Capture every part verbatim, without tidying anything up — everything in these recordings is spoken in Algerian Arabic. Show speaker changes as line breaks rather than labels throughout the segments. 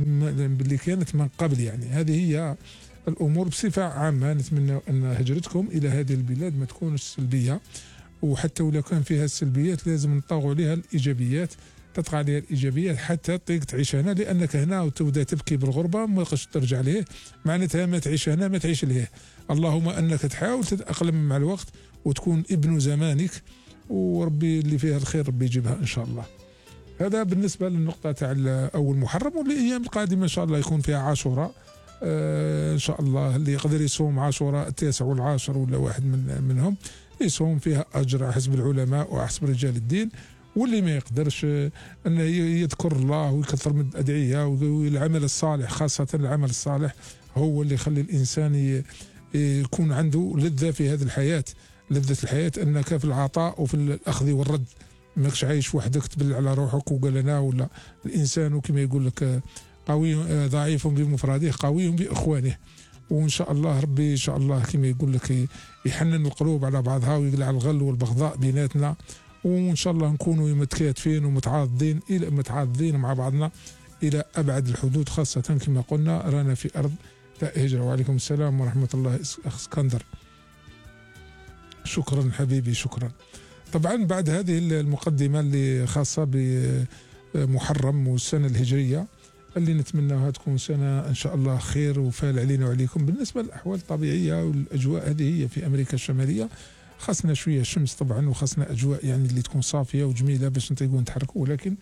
باللي كانت من قبل. يعني هذه هي الأمور بصفة عامة. نتمنى أن هجرتكم إلى هذه البلاد ما تكونش سلبية، وحتى ولو كان فيها السلبيات لازم نطاغوا عليها الإيجابيات، تطغى عليها الإيجابيات حتى تطيق تعيش هنا، لأنك هنا وتبدا تبكي بالغربة ما تقدرش ترجع ليه، معناتها ما تعيش هنا ما تعيش ليه. اللهم أنك تحاول تتأقلم مع الوقت وتكون ابن زمانك، وربي اللي فيها الخير ربي يجيبها إن شاء الله. هذا بالنسبة للنقطة تاع أول محرم. والأيام القادمة إن شاء الله يكون فيها عاشوراء آه إن شاء الله. اللي يقدر يصوم عاشوراء التاسع والعاشر ولا واحد من منهم يصوم، فيها أجر حسب العلماء وحسب رجال الدين. واللي ما يقدرش أنه يذكر الله ويكثر من الأدعية والعمل الصالح، خاصة العمل الصالح هو اللي يخلي الإنسان يكون عنده لذة في هذه الحياة. لذة الحياة أنك في العطاء وفي الأخذ والرد، ماكش عايش وحدك تبل على روحك وقال أنا ولا. الإنسان كما يقول لك قوي ضعيف بمفرده قوي بإخوانه. وإن شاء الله ربي إن شاء الله كما يقول لك يحنن القلوب على بعضها ويقلع الغل والبغضاء بيناتنا، وإن شاء الله نكونوا متكاتفين ومتعاضدين إلى متعاضدين مع بعضنا إلى أبعد الحدود، خاصة كما قلنا رانا في أرض هجرة. وعليكم السلام ورحمة الله أخ اسكندر. شكرا حبيبي شكرا. طبعا بعد هذه المقدمة اللي خاصة بمحرم والسنة الهجرية اللي نتمناها تكون سنة إن شاء الله خير وفال علينا وعليكم. بالنسبة للأحوال الطبيعية والأجواء هذه هي في أمريكا الشمالية، خاصنا شوية شمس طبعا، وخاصنا أجواء يعني اللي تكون صافية وجميلة باش نطيقوا نتحركوا، ولكن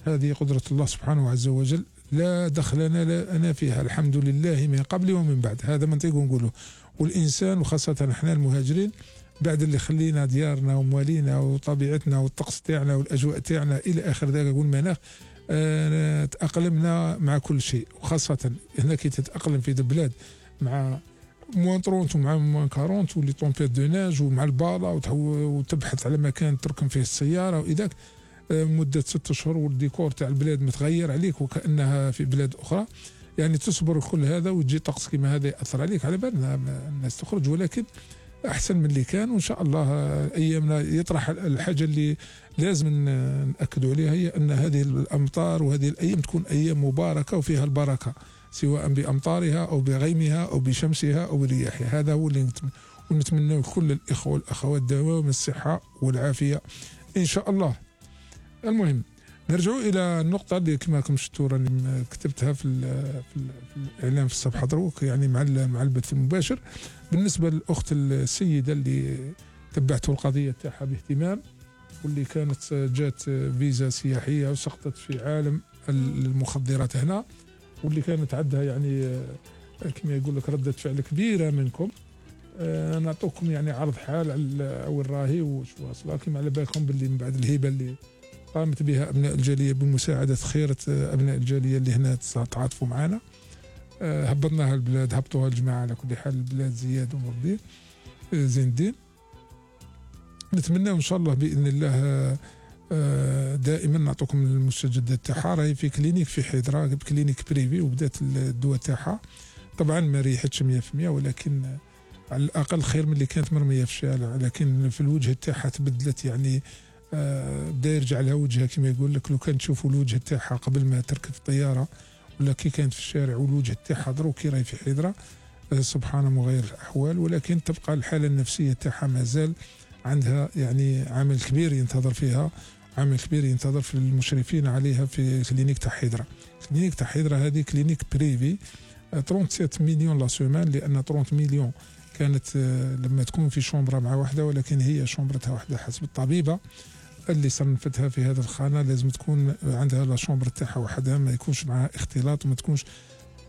هذه قدرة الله سبحانه عز وجل لا دخلنا لا أنا فيها، الحمد لله من قبل ومن بعد. هذا ما نطيقوا نقوله. والإنسان وخاصة احنا المهاجرين بعد اللي خلينا ديارنا وموالينا وطبيعتنا والطقس تاعنا والأجواء تاعنا إلى آخر ذلك والمناخ، آه تأقلمنا مع كل شيء. وخاصة هنا كي تتأقلم في البلاد مع موان ثلاثين ومع موان أربعين واللي طومبيت دو ناج ومع البالا وتبحث على مكان تركن فيه السيارة وإذاك آه مدة ست أشهر والديكور تاع البلاد متغير عليك وكأنها في بلاد أخرى. يعني تصبر كل هذا وتجي طقس كما هذا يأثر عليك، على بالنا الناس تخرج، ولكن أحسن من اللي كان. وإن شاء الله أيامنا يطرح الحاجة اللي لازم نأكدوا عليها، هي أن هذه الأمطار وهذه الأيام تكون أيام مباركة وفيها البركة، سواء بأمطارها أو بغيمها أو بشمسها أو برياحها. هذا هو اللي نتمنى كل الإخوة والأخوات دوام الصحة والعافية إن شاء الله. المهم نرجعوا إلى النقطة اللي كما راكم شفتوا راني كتبتها في, في, في الإعلام في الصفحة دروك، يعني مع مع البث المباشر. بالنسبة للأخت السيدة اللي تبعته القضية تاعها باهتمام، واللي كانت جات فيزا سياحية وسقطت في عالم المخدرات هنا، واللي كانت عندها يعني كما يقول لك ردة فعل كبيرة منكم. أه نعطوكم يعني عرض حال على وين راهي وش واصله. كما على بالكم باللي من بعد الهبة اللي قامت بها أبناء الجالية بمساعدة خيرة أبناء الجالية اللي هنا تعاطفوا معنا، أه هبطناها البلاد، هبطوها الجماعة على كل حال البلاد زياد ونور زين الدين. نتمنى إن شاء الله بإذن الله أه دائما نعطوكم المستجدات تاعها. راهي في كلينيك في حيدرا، كلينيك بريفي، وبدات الدواء تاعها. طبعا ما ريحتش مية في المية، ولكن على الأقل خير من اللي كانت مرمية في الشارع. لكن في الوجه تاعها تبدلت، يعني آه بدا يرجع لها وجهها كما يقول لك. لو كان تشوفوا الوجه تاعها قبل ما تركب الطياره ولا كي كانت في الشارع، والوجه تاعها دروك كي راهي في حيدرا، آه سبحان مغير الاحوال. ولكن تبقى الحاله النفسيه تاعها مازال عندها يعني عامل كبير ينتظر فيها، عامل كبير ينتظر في المشرفين عليها في كلينيك تاع حيدرا. كلينيك تاع حيدرا هذه كلينيك بريفي، آه ثلاثة وثلاثين مليون لا سومان، لان ثلاثين مليون كانت آه لما تكون في شومبرا مع واحده، ولكن هي شومبرتها واحده حسب الطبيبه اللي صنفتها في هذا الخانة. لازم تكون عندها لا شومبر تاعها وحدها، ما يكونش معها اختلاط، وما تكونش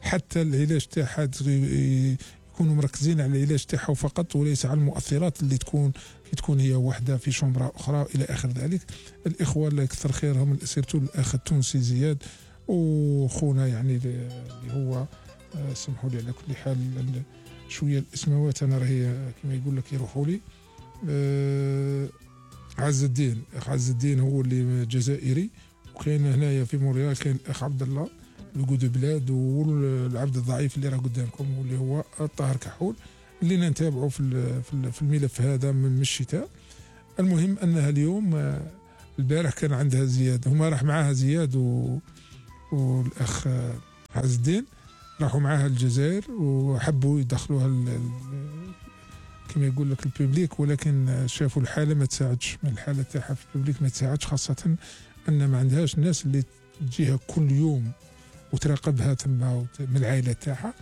حتى العلاج تاعها يكونوا مركزين على العلاج تاعها فقط وليس على المؤثرات اللي تكون كي تكون هي وحده في شومبرا اخرى الى اخر ذلك. الاخوه الله يكثر خيرهم، سيرتو الاخ التونسي زياد وخونا يعني اللي هو سمحوا لي على كل حال شويه الاسماوات انا راهي كما يقول لك يروحوا لي. أه عز الدين، اخ عز الدين هو اللي جزائري، وكاين هنايا في مونريال كاين الاخ عبد الله القود بلاد، والعبد الضعيف اللي راه قدامكم واللي هو الطاهر كحول، اللي نتابعوا في في الملف هذا من الشتاء. المهم انها اليوم البارح كان عندها زياد، هما راح معاها زياد و... والاخ عز الدين، راحوا معاها الجزائر وحبوا يدخلوها كما يقول لك الببليك، ولكن شافوا الحاله ما تساعدش، الحاله تاعها في الببليك ما تساعدش، خاصه ان ما عندهاش الناس اللي تجيها كل يوم وتراقبها تما من العائله تاعها.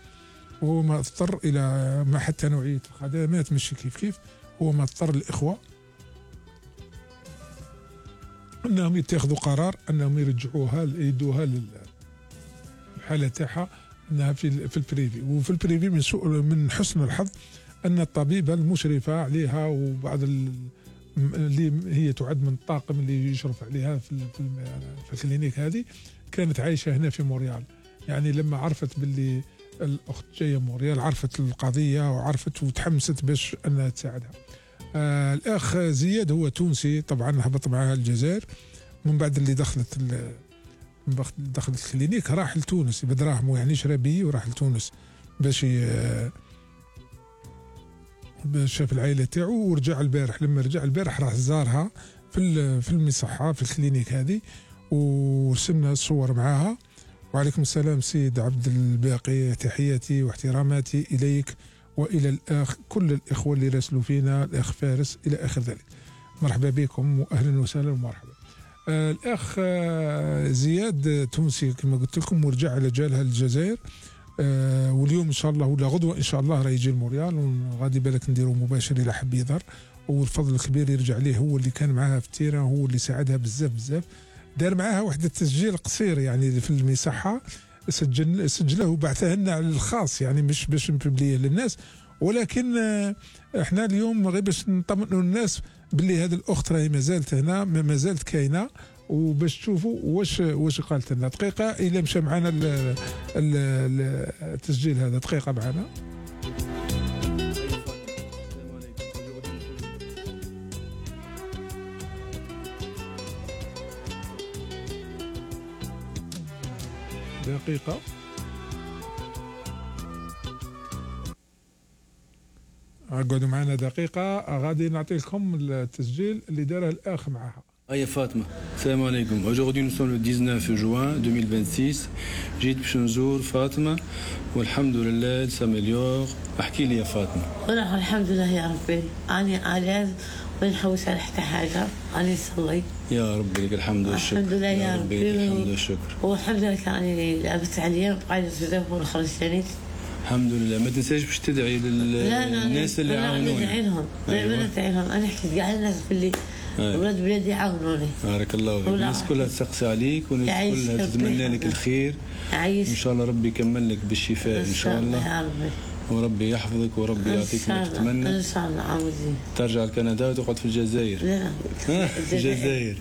وهو ما اضطر الى ما حتى نوعيه الخدمات ماشي كيف كيف، هو ما اضطر الاخوه انهم يتخذوا قرار انهم يرجعوها يدوها للحاله تاعها انها في في البريفي. وفي البريفي من سوء من حسن الحظ ان الطبيبه المشرفه عليها وبعض اللي هي تعد من الطاقم اللي يشرف عليها في في الكلينيك هذه كانت عايشه هنا في مونريال. يعني لما عرفت باللي الاخت جايه مونريال عرفت القضيه وعرفت وتحمست باش انها تساعدها. آه الاخ زياد هو تونسي طبعا، هبط معها الجزائر من بعد اللي دخلت من بعد دخلت الكلينيك راح لتونس بدراهمه، يعني شرا بي وراح لتونس باش باش شاف العائله تاعو ورجع البارح. لما رجع البارح راح زارها في في المصحه في الكلينيك هذه ورسلنا الصور معاها. وعليكم السلام سيد عبد الباقي، تحياتي واحتراماتي اليك والى الاخ كل الاخوه اللي راسلوا فينا، الاخ فارس الى اخر ذلك. مرحبا بكم واهلا وسهلا ومرحبا. آه الاخ آه زياد تونسي كما قلت لكم ورجع على جالها الجزائر. آه واليوم ان شاء الله ولا غدوه ان شاء الله راه يجي الموريال، وغادي بالك نديروا مباشر الى حب يظهر. والفضل الكبير يرجع ليه، هو اللي كان معاها في التيران، هو اللي ساعدها بزاف بزاف. دار معاها واحد التسجيل قصير يعني في المصحه، سجل سجله وبعثه لنا على الخاص، يعني مش باش نبليه للناس، ولكن احنا اليوم غير باش نطمئنوا الناس باللي هذه الاخت راهي ما زالت هنا، ما زالت كاينه، وباش تشوفوا واش واش قالت لنا. دقيقه الى مشى معنا التسجيل هذا، دقيقه معنا. دقيقة اقعدوا معنا دقيقة، غادي نعطي لكم التسجيل اللي داره الأخ معها.
هيا فاطمة، السلام عليكم. Aujourd'hui nous sommes le dix-neuf juin deux mille vingt-six. جيت باش نزور فاطمة والحمد لله تسامليور. احكي لي يا فاطمة.
والله الحمد لله يا ربي، أنا علاج ما نحوس على حتى حاجة، أنا نصلي.
يا ربي لك الحمد والشكر.
الحمد لله يا ربي
لك الحمد والشكر.
والحمد لله كاني لعبت عليا وقاعدة بزاف ونخرج ثاني.
الحمد لله. ما تنساش باش تدعي للناس اللي عاونوني.
لا لا ندعي لهم، دائما ندعي لهم. أنا حكيت كاع الناس باللي ولاد بلادي عاونوني.
بارك الله فيك. الناس كلها تسقسي عليك والناس كلها تتمنى لك الخير.
عايش.
ان شاء الله ربي يكمل لك بالشفاء ان شاء الله يا ربي، وربي يحفظك وربي يعطيك ما تتمنى.
ان شاء الله عاوزين
ترجع لكندا وتقعد في الجزائر.
لا
الجزائر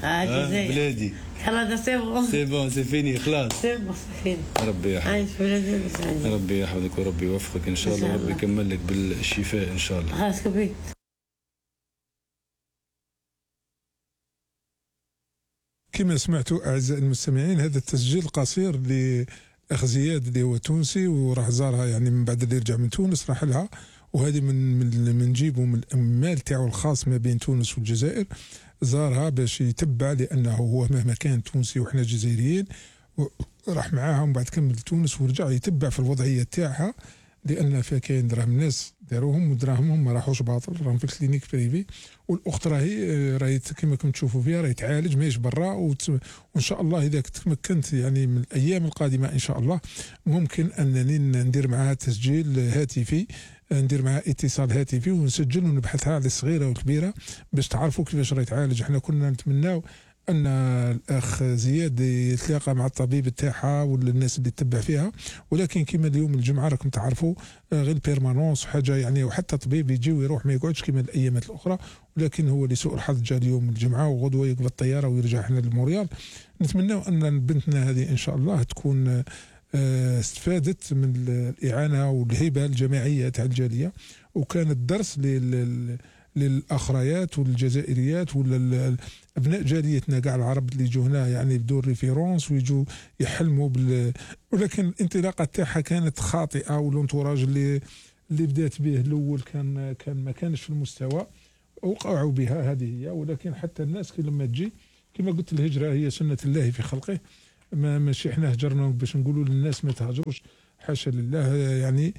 بلادي.
كندا سي بون
سي بون سي فيني خلاص.
سي بون سي فيني.
ربي يحفظك.
عايش بلادي وسعيد.
ربي يحفظك وربي يوفقك ان شاء الله، ربي يكمل لك بالشفاء ان شاء الله.
خلاص كبير.
كما سمعتوا أعزائي المستمعين، هذا التسجيل قصير لأخ زياد اللي هو تونسي وراح زارها، يعني من بعد اللي يرجع من تونس راح لها، وهذه من من من نجيبه من الأمال تاعو الخاص ما بين تونس والجزائر. زارها باش يتبع، لأنه هو مهما كان تونسي وإحنا جزائريين، راح معاها ومن بعد كمل تونس ورجع يتبع في الوضعية تاعها، لأن فيها كاين دراهم ناس داروهم ودراهمهم ما راحوش باطل، راهم في الكلينيك بريفي. والاخت راهي راهي كما كنتم تشوفوا فيها راهي تعالج ماهيش برا، وان شاء الله اذا تمكنت يعني من الايام القادمه ان شاء الله ممكن انني ندير معها تسجيل هاتفي، ندير معها اتصال هاتفي ونسجل ونبحثها على الصغيره والكبيره باش تعرفوا كيفاش راهي تعالج. احنا كنا نتمناو ان الاخ زياد يتلاقى مع الطبيب تاعها ولا الناس اللي تتبع فيها، ولكن كما اليوم الجمعه راكم تعرفوا غير بيرمانونس حاجه يعني، وحتى طبيب يجي ويروح ما يقعدش كما الايامات الاخرى، ولكن هو لسوء الحظ جاء اليوم الجمعه وغدوه يقبل الطياره ويرجع هنا لموريال. نتمناو ان بنتنا هذه ان شاء الله تكون استفادت من الاعانه والهبه الجماعيه تاع الجاليه، وكانت درس لل للاخريات والجزائريات ولا ابناء جاليتنا كاع العرب اللي يجوا هنا يعني بدون ريفيرونس ويجوا يحلموا بال، ولكن الانطلاقه تاعها كانت خاطئه، والانتوراج اللي اللي بدات به الاول كان كان ما كانش في المستوى، وقعوا بها هذه هي. ولكن حتى الناس كي لما تجي كما قلت الهجره هي سنه الله في خلقه، ما ماشي حنا هجرناهم باش نقولوا للناس ما تهاجروش، حاشا لله يعني،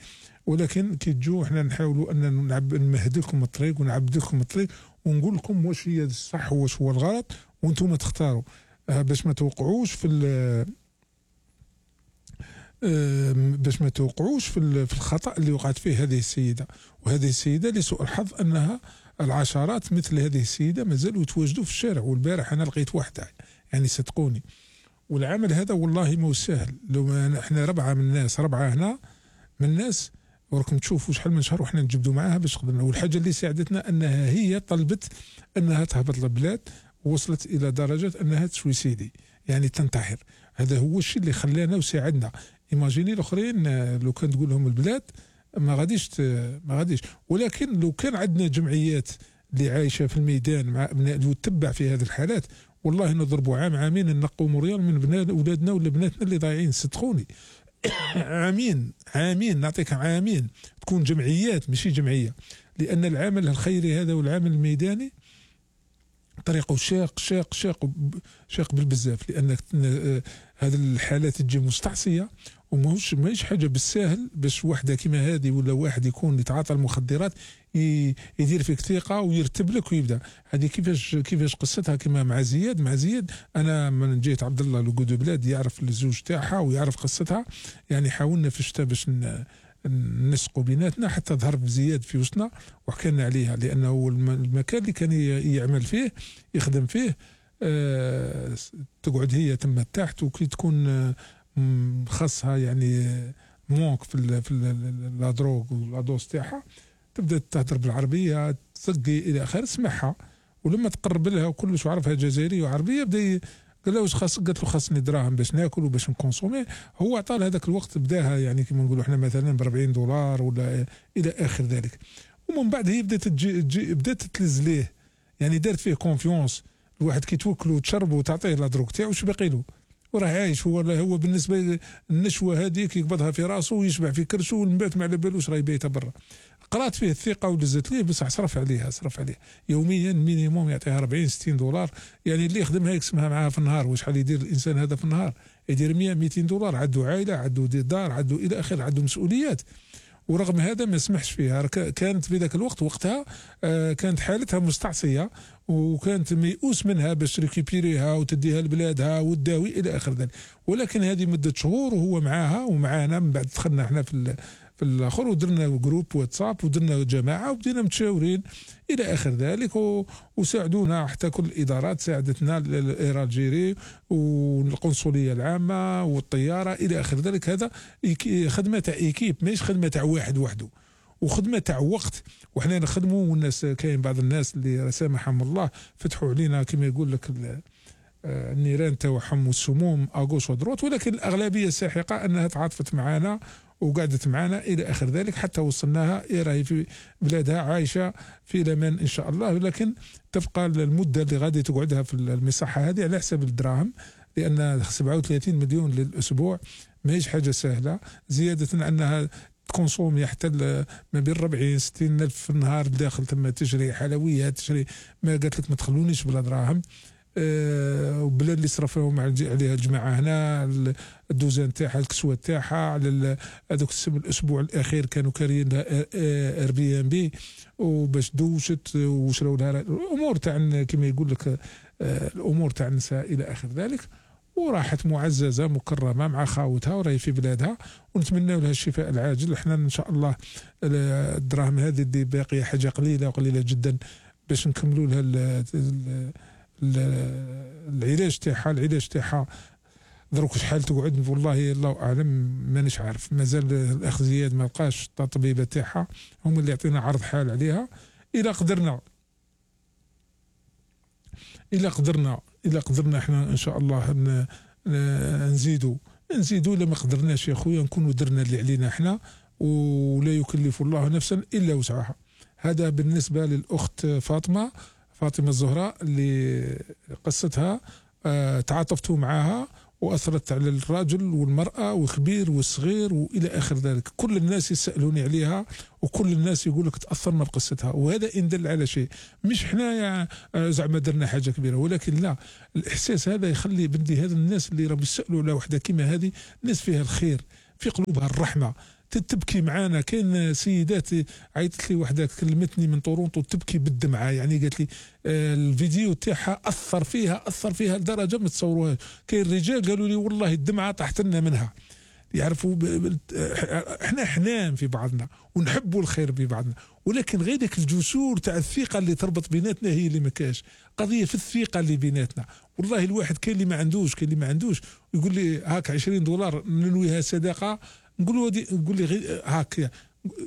ولكن كي تجوا حنا نحاولوا ان نمهد لكم الطريق ونعبد لكم الطريق ونقول لكم واش هي الصح واش هو الغلط وانتم تختاروا باش ما توقعوش في باش ما توقعوش في الخطأ اللي وقعت فيه هذه السيدة. وهذه السيدة لسوء الحظ أنها العشرات مثل هذه السيدة مازالوا يتواجدوا في الشارع. والبارح أنا لقيت واحدة يعني صدقوني، والعمل هذا والله مو سهل. لو احنا ربعة من الناس ربعة هنا من الناس وراكم تشوفوا شحال من شهر وحنا نجبدوا معاها باش قدرنا. والحاجة اللي ساعدتنا أنها هي طلبت أنها تهبط للبلاد، ووصلت إلى درجة أنها تسويسيدي يعني تنتحر. هذا هو الشيء اللي خلانا وساعدنا. ايماجيني الاخرين لو كان تقول لهم البلاد ما غاديش ما غاديش. ولكن لو كان عندنا جمعيات اللي عايشه في الميدان مع ابناء وتتبع في هذه الحالات، والله نضربوا عام عامين نقوموا ريال من بنات اولادنا ولا بناتنا اللي ضايعين صدقوني. عامين عامين نعطيك عامين تكون جمعيات ماشي جمعيه، لان العمل الخيري هذا والعمل الميداني طريقه شاق شاق شاق شاق بالبزاف، لان هذه الحالات تجي مستعصيه وماهوش ماهيش حاجه بالساهل باش وحده كيما هذه ولا واحد يكون يتعاطى المخدرات يدير فيك ثقه ويرتب لك ويبدا. هذه كيفاش كيفاش قصتها كما مع زياد مع زياد انا من جيت عبد الله لوجود بلاد يعرف الزوج تاعها ويعرف قصتها، يعني حاولنا في الشتاء باش نسقوا بيناتنا حتى ظهر زياد في وسطنا وحكينا عليها، لانه هو المكان اللي كان يعمل فيه يخدم فيه أه تقعد هي تم تحت، وكي تكون أه خاصها يعني مونك في ال في لا دروغ ولا دوز تاعها تبدا تهضر بالعربيه تسقي الى اخره سمعها. ولما تقرب لها وكلش عرفها جزائريه وعربيه بدا قال له واش خاص، قالت له خاصني دراهم باش ناكل وباش نكونسومي. هو عطى لها هذاك الوقت بداها يعني كما نقولوا احنا مثلا ب أربعين دولار ولا الى اخر ذلك. ومن بعد هي بدات تجي بدات تلز ليه، يعني دارت فيه كونفيونس. الواحد كي توكلو وتشرب وتعطيه لا دروك تاعو واش باقي له، وراه عايش هو هو بالنسبه النشوه هذيك يقبضها في راسه ويشبع في كرشه ومن بعد ما على بالوش راه يبيتها برا. قرات فيه الثقه ولزت ليه بصح صرف عليها صرف عليها يوميا مينيموم يعطيها أربعين ستين دولار، يعني اللي يخدمها يقسمها معاها في النهار. وشحال يدير الانسان هذا في النهار؟ يدير مية ميتين دولار. عنده عائله عنده دار عنده الى اخره عنده مسؤوليات. ورغم هذا ما سمحش فيها. كانت في ذاك الوقت وقتها آه كانت حالتها مستعصيه وكانت ميؤوس منها باش ريكيبيريها وتديها لبلادها وتداوي الى اخر ذلك. ولكن هذه مده شهور وهو معاها ومعانا. من بعد دخلنا احنا في في الاخر ودرنا جروب واتساب ودرنا جماعه وبدينا متشاورين الى اخر ذلك، وساعدونا حتى كل الادارات ساعدتنا، الاير الجيري والقنصليه العامه والطياره الى اخر ذلك. هذا خدمه تاع ايكيب ماهيش خدمه تاع واحد وحده، وخدمه تاع وقت. وحنا نخدموا والناس كاين بعض الناس اللي سامحهم الله فتحوا علينا كما يقول لك النيران تاعهم والسموم اغوش ودروت، ولكن الاغلبيه الساحقه انها تعاطفت معنا وقعدت معنا الى اخر ذلك حتى وصلناها راهي في بلادها عايشه في الامان ان شاء الله. ولكن تبقى المده اللي غادي تقعدها في المصحه هذه على حساب الدراهم، لان سبعة وثلاثين مليون للاسبوع ماهيش حاجه سهله، زياده انها تكونسومي حتى ما بين أربعين ستين الف في النهار داخل ثم تشري حلويات تشري ما قالت لك ما تخلونيش بلا دراهم. أه وبلا اللي صرفوهم عليها الجماعه هنا الدوزان تاعها الكسوه تاعها على هذوك الاسبوع الاخير كانوا كاريين لها اير بي ام بي وباش دوشت وشراو لها الامور تاع كما يقول لك أه الامور تاع النساء الى اخر ذلك. وراحت معززه مكرمه مع خاوتها وراهي في بلادها، ونتمنى لها الشفاء العاجل. احنا ان شاء الله الدراهم هذه اللي باقيه حاجه قليله وقليله جدا باش نكملوا لها العلاج تاعها. العلاج تاعها دروك شحال تقعد والله الله اعلم مانيش عارف، مازال الاخ زياد ما لقاش الطبيبه تاعها، هم اللي يعطينا عرض حال عليها. الى قدرنا الى قدرنا الى قدرنا احنا ان شاء الله نزيدوا نزيدوا. الا ما قدرناش يا خويا نكونوا درنا اللي علينا احنا، ولا يكلف الله نفسا الا وسعها. هذا بالنسبه للاخت فاطمه فاطمه الزهراء اللي قصتها اه تعاطفتوا معها وأثرت على الرجل والمرأة والكبير والصغير وإلى آخر ذلك. كل الناس يسألوني عليها وكل الناس يقول لك تأثرنا بقصتها، وهذا إن دل على شيء. مش حنايا زعما درنا حاجة كبيرة، ولكن لا، الإحساس هذا يخلي بندي هذا الناس اللي راهم يسألوا على وحدة كيما هذه، ناس فيها الخير، في قلوبها الرحمة، تبكي معانا. كاين سيدات عيطت لي وحده كلمتني من طورونتو تبكي بالدمعه، يعني قالت لي آه الفيديو تاعها اثر فيها اثر فيها لدرجه ما تصوروهاش. كاين رجال قالوا لي والله الدمعه طاحت لنا منها. يعرفوا احنا حنان في بعضنا ونحبوا الخير في بعضنا، ولكن غير ديك الجسور تاع الثقه اللي تربط بيناتنا هي اللي ما كاش. قضيه في الثقه اللي بيناتنا. والله الواحد كاين اللي ما عندوش، كاين اللي ما عندوش، يقول لي هاك عشرين دولار ننويها صدقه، نقول له نقول لي هاك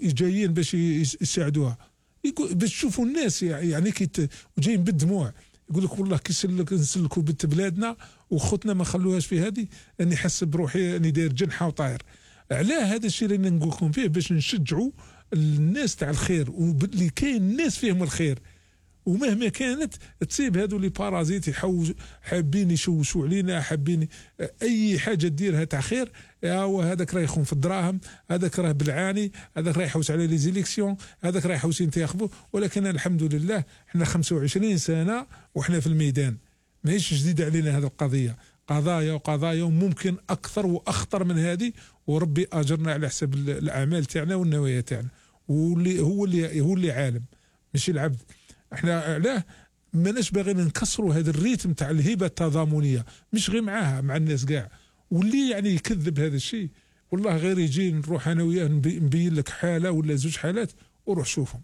جايين باش يساعدوها، يقول باش تشوفوا الناس يعني كي جايين بالدموع، يقول لك والله كي نسلكوا بنت بلادنا وخوتنا ما خلوهاش في هذه، اني حس بروحي اني داير جنحه وطاير. علاه هذا الشيء اللي نقول لكم فيه باش نشجعوا الناس تاع الخير، واللي كاين الناس فيهم الخير، ومهما كانت تصيب هذو لي بارازيت يحوج حابين يشوشوا علينا، حابين اي حاجه ديرها تاع خير، هو هذاك راه يخون في الدراهم، هذاك راه بالعاني، هذاك راه يحوس على لي زيليكسيون، هذاك راه يحوس ينتخبوا. ولكن الحمد لله احنا خمسة وعشرين سنه وحنا في الميدان، ماهيش جديده علينا هذه القضيه، قضايا وقضايا وممكن اكثر واخطر من هذه، وربي اجرنا على حسب الاعمال تاعنا والنوايا تاعنا، واللي هو اللي هو اللي عالم ماشي العبد. احنا علاه ماناش باغيين نكسروا هذا الريتم تاع الهبه التضامنيه، مش غير معاها مع الناس كاع. واللي يعني يكذب هذا الشيء والله غير يجي نروح انا وياه نبين لك حاله ولا زوج حالات وروح شوفهم،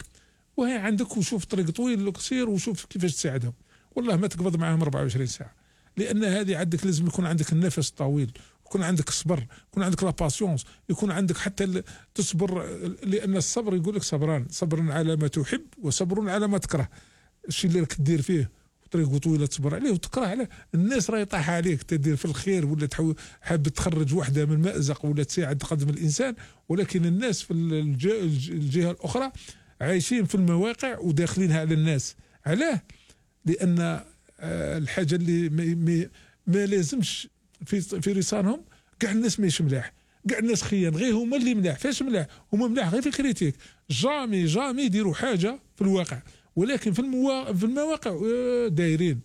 وهي عندك وشوف طريق طويل قصير وشوف كيفاش تساعدهم. والله ما تقبض معاهم أربعة وعشرين ساعه، لان هذه عندك لازم يكون عندك النفس الطويل، يكون عندك الصبر، يكون عندك لا باسيونس، يكون عندك حتى تصبر، لان الصبر يقول لك صبران، صبر على ما تحب وصبر على ما تكره. الشيء اللي راك دير فيه طريقه طويله تصبر عليه وتكره عليه، الناس راه يطيح عليك تدير في الخير ولا تحاول حاب تخرج وحده من مأزق ولا تساعد تقدم الانسان، ولكن الناس في الجهه الاخرى عايشين في المواقع وداخلينها على الناس. علاه؟ لان الحاجه اللي ما, ما لازمش في في رصانهم كاع الناس ماهيش ملاح، كاع الناس خيان، غير هما اللي ملاح. فاش ملاح؟ هما ملاح غير في الكريتيك، جامي جامي يديروا حاجه في الواقع، ولكن في الموا... في المواقع دايرين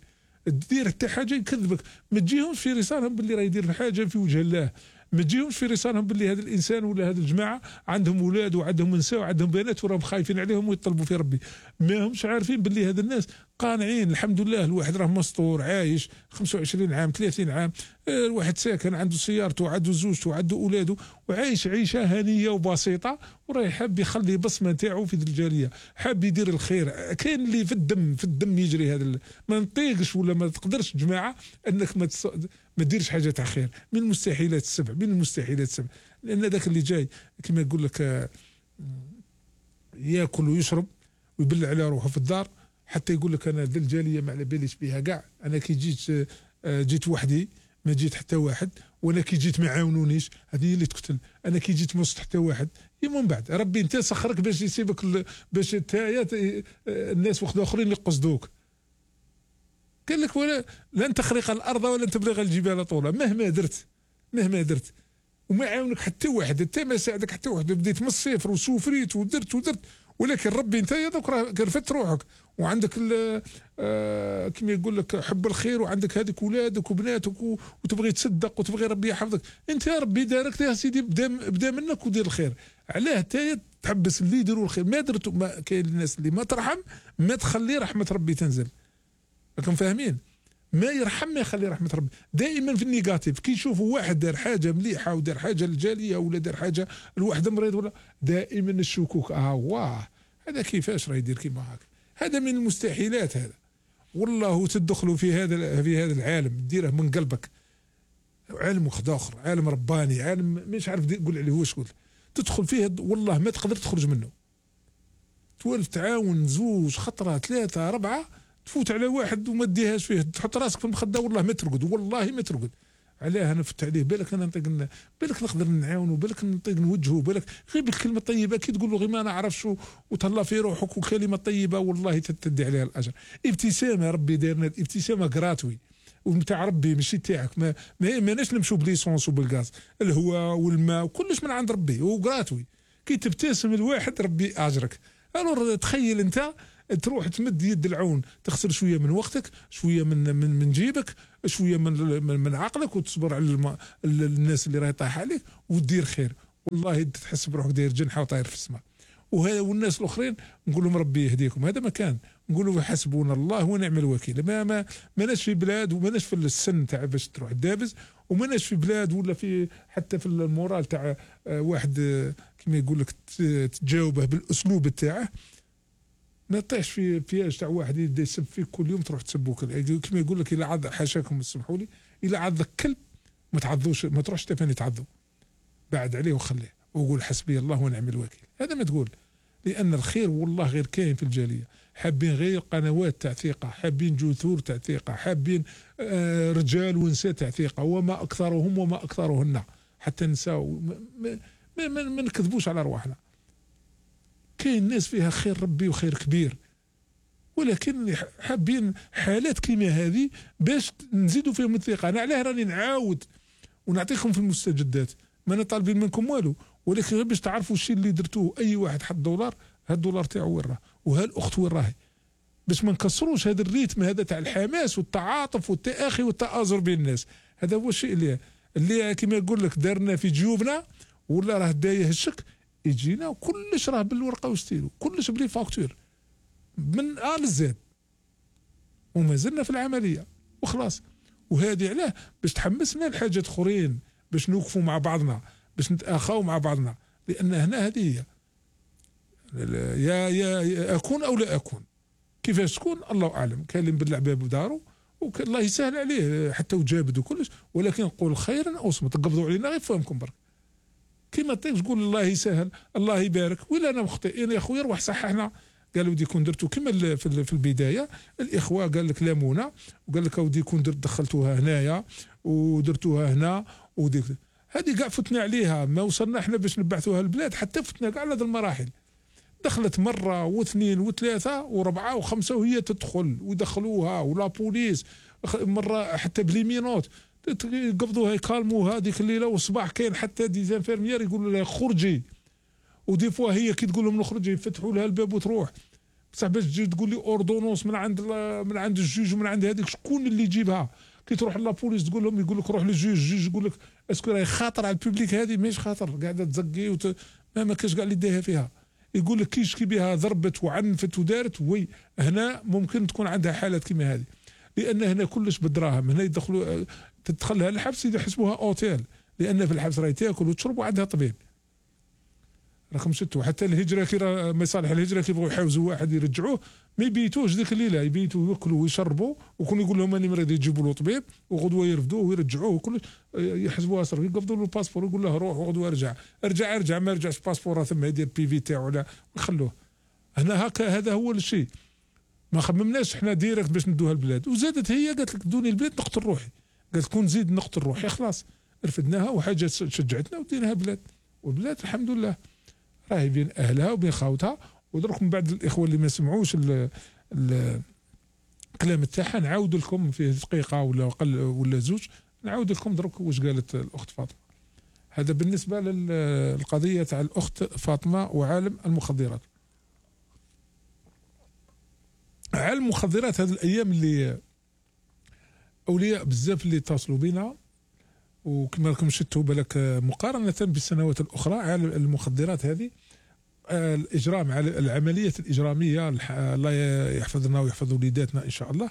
دير حتى حاجه يكذبك. ما تجيهمش في رسالهم باللي راه يدير حاجه في وجه الله، ما تجيهمش في رسالهم باللي هذا الانسان ولا هذه الجماعه عندهم اولاد وعندهم نساء وعندهم بنات وراهم خايفين عليهم ويطلبوا في ربي. ما همش عارفين باللي هذا الناس قانعين الحمد لله، الواحد راه مستور عايش خمسة وعشرين عام ثلاثين عام، الواحد ساكن عنده سيارته وعنده زوجته وعنده اولاده وعايش عيشه هنيه وبسيطه، وراه حاب يخلي بصمه نتاعو في الجاليه، حاب يدير الخير. كاين اللي في الدم في الدم يجري هذا، ما نطيقش ولا ما تقدرش جماعه انك ما تص... ما ديرش حاجه تاع خير، من المستحيلات السبع، من المستحيلات السبع. لان ذاك اللي جاي كما يقول لك ياكل ويشرب ويبلع على روحه في الدار، حتى يقول لك انا ذا الجاليه ما على باليش بها كاع، انا كي جيت جيت وحدي ما جيت حتى واحد، وانا كي جيت ما عاونونيش، هذه اللي تقتل. انا كي جيت ما وسط حتى واحد، من بعد ربي انت سخرك باش يسيبك باش تايا الناس واحد اخرين اللي قصدوك. قال لك ولا لن تخرق الارض ولن تبلغ الجبال طولا، مهما درت مهما درت وما عاونك حتى واحد، انت ما ساعدك حتى واحد، بديت من الصفر وسوفريت ودرت ودرت، ولكن ربي انت يدك راه كرفت روحك وعندك آه كما يقول لك حب الخير، وعندك هذيك اولادك وبناتك وتبغي تصدق وتبغي ربي يحفظك، انت يا ربي دارك يا سيدي بدا بدا منك ودير الخير. علاه انت تحبس اللي يديروا الخير؟ ما درتوا، ما كاين الناس اللي ما ترحم ما تخلي رحمه ربي تنزل. راكم فاهمين؟ ما يرحم ما يخلي رحمه ربي. دائما في النيجاتيف كي يشوفوا واحد دار حاجه مليحه ودار حاجه للجاليه ولا دار حاجه لواحد مريض ولا، دائما الشكوك اه واه هذا كيفاش راه يدير كيما هكا، هذا من المستحيلات هذا. والله تدخلوا في هذا في هذا العالم ديره من قلبك، عالم واحد اخر، عالم رباني، عالم مش عارف تقول عليه واش تقول، تدخل فيه والله ما تقدر تخرج منه. تولف تعاون زوج خطره ثلاثه اربعه، تفوت على واحد وما تديهاش فيه، تحط راسك في المخده والله ما ترقد، والله ما ترقد. علاه انا فت عليه، بالك انا نطيق، بالك نقدر نعاونو، بالك نطيق نوجهه، بالك غير بالكلمه الطيبه كي تقول له غير ما نعرفش وتهلا في روحك وكلمه طيبه والله تدي عليها الاجر. ابتسامه ربي دارنا ابتسامه كراتوي، ونتاع ربي ماشي تاعك. ما ما ماناش نمشوا بليسونس وبالغاز، الهواء والماء وكلش من عند ربي وغراتوي. كي تبتسم الواحد ربي اجرك. الور تخيل انت تروح تمد يد العون، تخسر شويه من وقتك، شويه من من من جيبك، شويه من من, من عقلك، وتصبر على الم... الناس اللي راهي طايحه عليك وتدير خير. والله تحس بروحك داير جنحه وطاير في السماء. وهذا والناس الاخرين نقول لهم ربي يهديكم. هذا مكان نقولوا حسبونا الله ونعم الوكيل. ما ما ماناش في بلاد وماناش في السن تاع باش تروح دابز، وماناش في بلاد ولا في حتى في المورال تاع واحد كما يقول لك تجاوبه بالاسلوب تاعه. ما طيحش في بياج تاع واحد يبدا يسب فيك كل يوم تروح تسبو كما يقول لك. الى عض حاشاكم اسمحوا لي، الى عضك كلب ما تعضوش، ما تروحش تفاني تعضو، بعد عليه وخليه وقول حسبي الله ونعم الوكيل. هذا ما تقول، لان الخير والله غير كاين في الجاليه. حابين غير قنوات تاع ثقه، حابين جذور تاع ثقه، حابين آه رجال ونساء تاع ثقه، وما اكثرهم وما اكثرهن. حتى النساء ما, ما, ما, ما نكذبوش على ارواحنا. كاين ناس فيها خير ربي وخير كبير، ولكن حابين حالات كيما هذه باش نزيدوا فيهم الثقه. انا علاه راني نعاود ونعطيكم في المستجدات، ما انا طالبين منكم والو، ولكن غير باش تعرفوا الشيء اللي درتوه. اي واحد حط دولار، هاد الدولار تاعو وين راه، وهالاخت وين راهي، باش ما نكسروش هذا الريتم هذا تاع الحماس والتعاطف والتآخي والتآزر بين الناس. هذا هو الشيء اللي اللي كما يقول لك دارنا في جيوبنا، ولا راه دايه الشك يجينا وكلش راه بالورقه وستيلو، كلش بلي فاكتور من ا لزاد، وما زلنا في العمليه وخلاص. وهذه علاه باش تحمسنا لحاجات اخرين، باش نوقفوا مع بعضنا، باش نتآخاو مع بعضنا. لان هنا هذه هي يا يا اكون او لا اكون. كيفاش تكون الله اعلم. كاين اللي مبلع باب دارو والله يسهل عليه حتى وجابد وكلش، ولكن نقول خيرا او صمت. قبضوا علينا غير فهمكم برك. كيما طيب تقول الله يسهل الله يبارك، ولا انا مخطئين يا خويا روح صححنا. قالوا ودي كون درتو كيما في البدايه الاخوه قال لك لامونا، وقال لك ودي كون درت دخلتوها هنايا ودرتوها هنا وديك هذه كاع فتنا عليها. ما وصلنا احنا باش نبعثوها البلاد حتى فتنا كاع على هذه المراحل. دخلت مره واثنين وثلاثه وربعه وخمسه وهي تدخل ويدخلوها، ولا بوليس مره حتى بليمينوت قبضوها يكالموها هذيك الليله. والصباح كاين حتى دي زانفيرميير يقولوا لها خرجي، ودي فوا هي كي تقول لهم نخرج يفتحوا لها الباب وتروح. بصح باش تجي تقول لي اوردونونس من عند من عند الجوج ومن عند هذيك شكون اللي يجيبها؟ كي تروح لابوليس تقول لهم يقول لك روح للجوج، الجوج يقول لك اسكو راهي خاطر على البوبليك. هذه ماهيش خاطر، قاعده تزقي وت... ما, ما كاش كاع اللي داها فيها. يقول لك كي يشكي بها ضربت وعنفت ودارت، وي هنا ممكن تكون عندها حالات كيما هذه، لان هنا كلش بالدراهم. هنا يدخلوا تدخلها الحبس يحسبوها اوتيل، لان في الحبس راهي تاكل وتشرب وعندها طبيب. راكم شفتوا حتى الهجره كي مصالح الهجره كي يبغوا يحاوزوا واحد يرجعوه ما يبيتوش ذيك الليله، يبيتوا ياكلوا ويشربوا، وكون يقول لهم اني مريض يجيبوا له طبيب، وغدوه يرفدوه ويرجعوه وكل يحسبوها سر. يقبضوا له الباسبور يقول له روح وغدوه ارجع ارجع ارجع ما رجعش باسبور ثم يدير بي في تاعو ولا ويخلوه. هنا هكا هذا هو الشيء. ما خممناش احنا ديريكت باش ندوها البلاد. وزادت هي قالت لك دوني البلاد نقتل روحي، قالت كون نزيد نقتل روحي خلاص رفدناها وحاجه شجعتنا وديناها بلاد. والبلاد الحمد لله راهي بين اهلها وبين خاوتها. ودرك من بعد الاخوه اللي ما سمعوش الكلام تاعها نعاود لكم فيه دقيقه ولا اقل ولا زوج، نعاود لكم درك واش قالت الاخت فاطمه. هذا بالنسبه للقضيه تاع الاخت فاطمه وعالم المخدرات. عالم المخدرات هذه الايام اللي اولياء بزاف اللي اتصلوا بنا، وكما راكم شفتوا بالك مقارنه بالسنوات الاخرى عالم المخدرات هذه الاجرام على العمليات الاجراميه الله يحفظ لنا ويحفظ وليداتنا ان شاء الله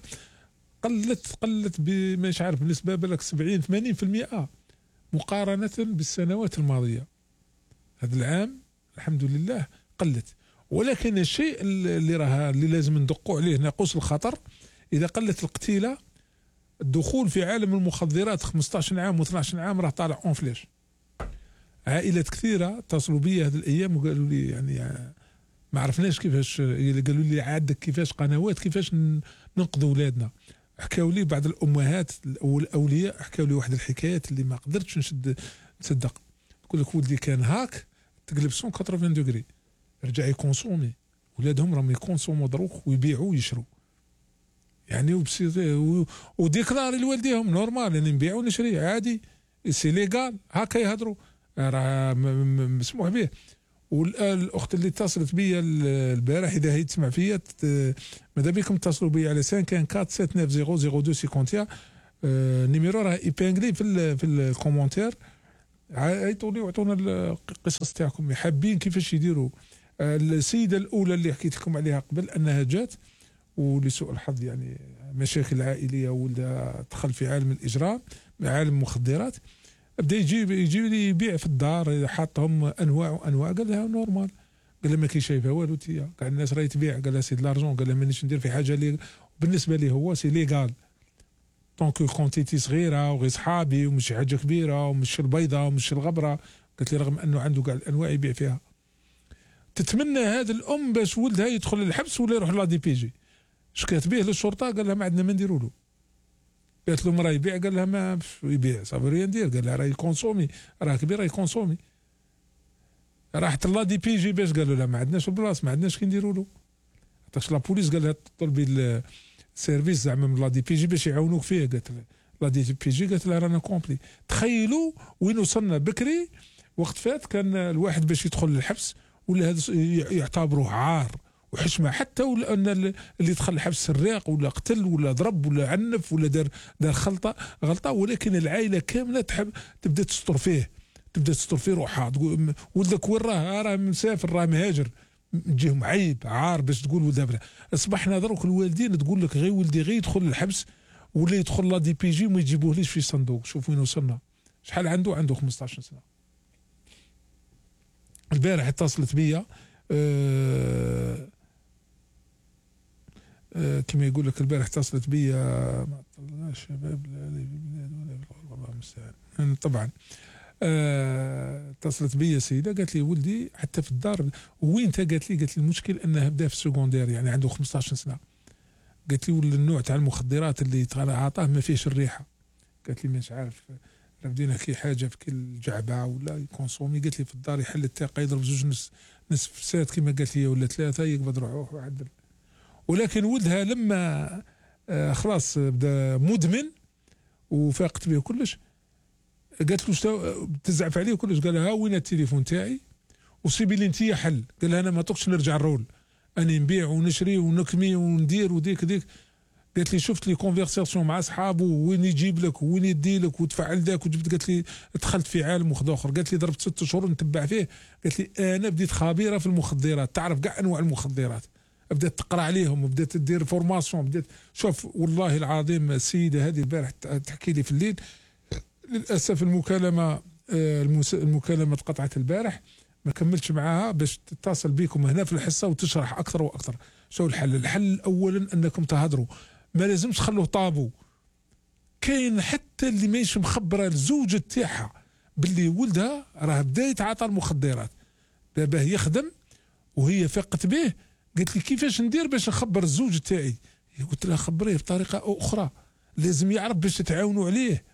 قلت قلت مش عارف بالنسبه بالك سبعين ثمانين بالمئة مقارنه بالسنوات الماضيه. هذا العام الحمد لله قلت. ولكن الشيء اللي راه اللي لازم ندقوا عليه ناقوس الخطر، اذا قلت القتيله الدخول في عالم المخدرات خمسطاش عام و12 عام راه طالع اون فلاش. عائلات كثيره اتصلوا بي هذه الايام وقالوا لي يعني ما عرفناش كيفاش، قالوا لي عندك كيفاش قنوات كيفاش ننقذوا اولادنا. حكاوا لي بعض الامهات والاولياء حكاوا لي واحد الحكايات اللي ما قدرتش نشد نصدق. يقول لك ولدي كان هاك تقلب مية وثمانين دوغري رجع يكونسومي، ولادهم راهم يكونسوموا دروك ويبيعوا ويشروا. يعني وبسيط وديكلاري لوالديهم نورمال انا نبيع ونشري عادي سي ليغال هكا يهضروا راه مسموح به. والاخت اللي اتصلت بيا البارح اذا هي تسمع فيا ماذا بكم اتصلوا بيا على خمسة واحد أربعة سبعة تسعة صفر صفر اثنين واحد واحد النيميرو راه ايبانغلي في ال في الكومونتير عيطوا لي وعطونا القصص تاعكم حابين كيفاش يديروا. السيده الاولى اللي حكيت لكم عليها قبل انها جات ولسوء الحظ يعني مشاكل عائليه ولا دخل في عالم الاجرام عالم المخدرات بدا يجيب يجيب لي يبيع في الدار حاطهم انواع وانواع قال لها نورمال قال لها ما كي شايفها والو تيا كاع الناس راهي تبيع قال لها سي لارجون قال لها مانيش ندير في حاجه اللي بالنسبه لي هو سي ليغال دونك كونتيتي صغيره وغير صحابي ومش حاجه كبيره ومش البيضه ومش الغبره. قالت لي رغم انه عنده كاع الانواع يبيع فيها. تتمنى هذا الام باش ولدها يدخل الحبس ولا يروح لا دي بي جي. شكات به للشرطه قال لها ما عندنا ما نديروا له. قالت له راه يبيع قال لها ما يبيع صافي راه ندير قال لها راه يكونسومي راه كبير راه يكونسومي. راحت لا دي بي جي باش قالوا لها ما عندناش البلاص ما عندناش كي نديروا له. عطاش لا بوليس قال لها طلبي السيرفيس زعما من لا دي بي جي باش يعاونوك فيه. قالت لا دي بي جي قالت لها رانا كومبلي. تخيلوا وين وصلنا بكري وقت فات كان الواحد باش يدخل للحبس ولا هذا يعتبروه عار وحشمه حتى ولا ان اللي دخل الحبس سراق ولا قتل ولا ضرب ولا عنف ولا دار دار خلطه غلطه ولكن العائله كامله تحب تبدا تستر فيه تبدا تستر فيه روحها تقول ولدك وين راه راه مسافر راه مهاجر تجيهم عيب عار باش تقول ولدها. اصبحنا دروك الوالدين تقول لك غير ولدي غير يدخل الحبس ولا يدخل لا دي بي جي وما يجيبوهليش في صندوق. شوف وين وصلنا. شحال عنده عنده خمسطاش سنه. البارح اتصلت بيا أه أه كما يقول لك البارح اتصلت بيا ما طلعناش شباب والله المستعان طبعا. أه اتصلت بيا سيده قالت لي ولدي حتى في الدار وين انت قالت لي قالت لي المشكل انه بدا في السكوندير يعني عنده خمسطاش سنه. قالت لي ولا النوع تاع المخدرات اللي عطاه ما فيهش الريحه. قالت لي مش عارف بدينا كي حاجه في كل جعبه ولا يكونسومي. قالت لي في الدار يحل التاقه يضرب زوج نص نصف ساعات كما قالت لي ولا ثلاثه يقبض روحه وعدل. ولكن ولدها لما آه خلاص بدا مدمن وفاقت به كلش قالت له تزعف عليه كلش. قال لها وين التليفون تاعي وسيبي لي انت حل. قال لها انا ما طقش نرجع الرول اني نبيع ونشري ونكمي وندير وديك ديك. قالت لي شفت لي كونفرساسيون مع اصحابه وين يجيب لك وين يدي لك وتفعل ذاك وجبت. قالت لي دخلت في عالم واحد اخر. قالت لي ضربت ست شهور نتبع فيه. قالت لي انا بديت خبيره في المخدرات تعرف كاع انواع المخدرات بدات تقرا عليهم وبدات تدير فورماسيون بدات شوف والله العظيم. السيده هذه البارح تحكي لي في الليل للاسف المكالمه المكالمه تقطعت البارح ما كملتش معاها باش تتصل بكم هنا في الحصه وتشرح اكثر واكثر. شو الحل؟ الحل اولا انكم تهضروا ما لازمش تخلوه طابو. كاين حتى اللي ماهيش مخبره الزوجه تاعها باللي ولدها راه بدا يتعاطى المخدرات دابا يخدم وهي فاقت به. قالت لي كيفاش ندير باش نخبر الزوج تاعي؟ قلت لها خبريه بطريقه اخرى لازم يعرف باش تتعاونوا عليه.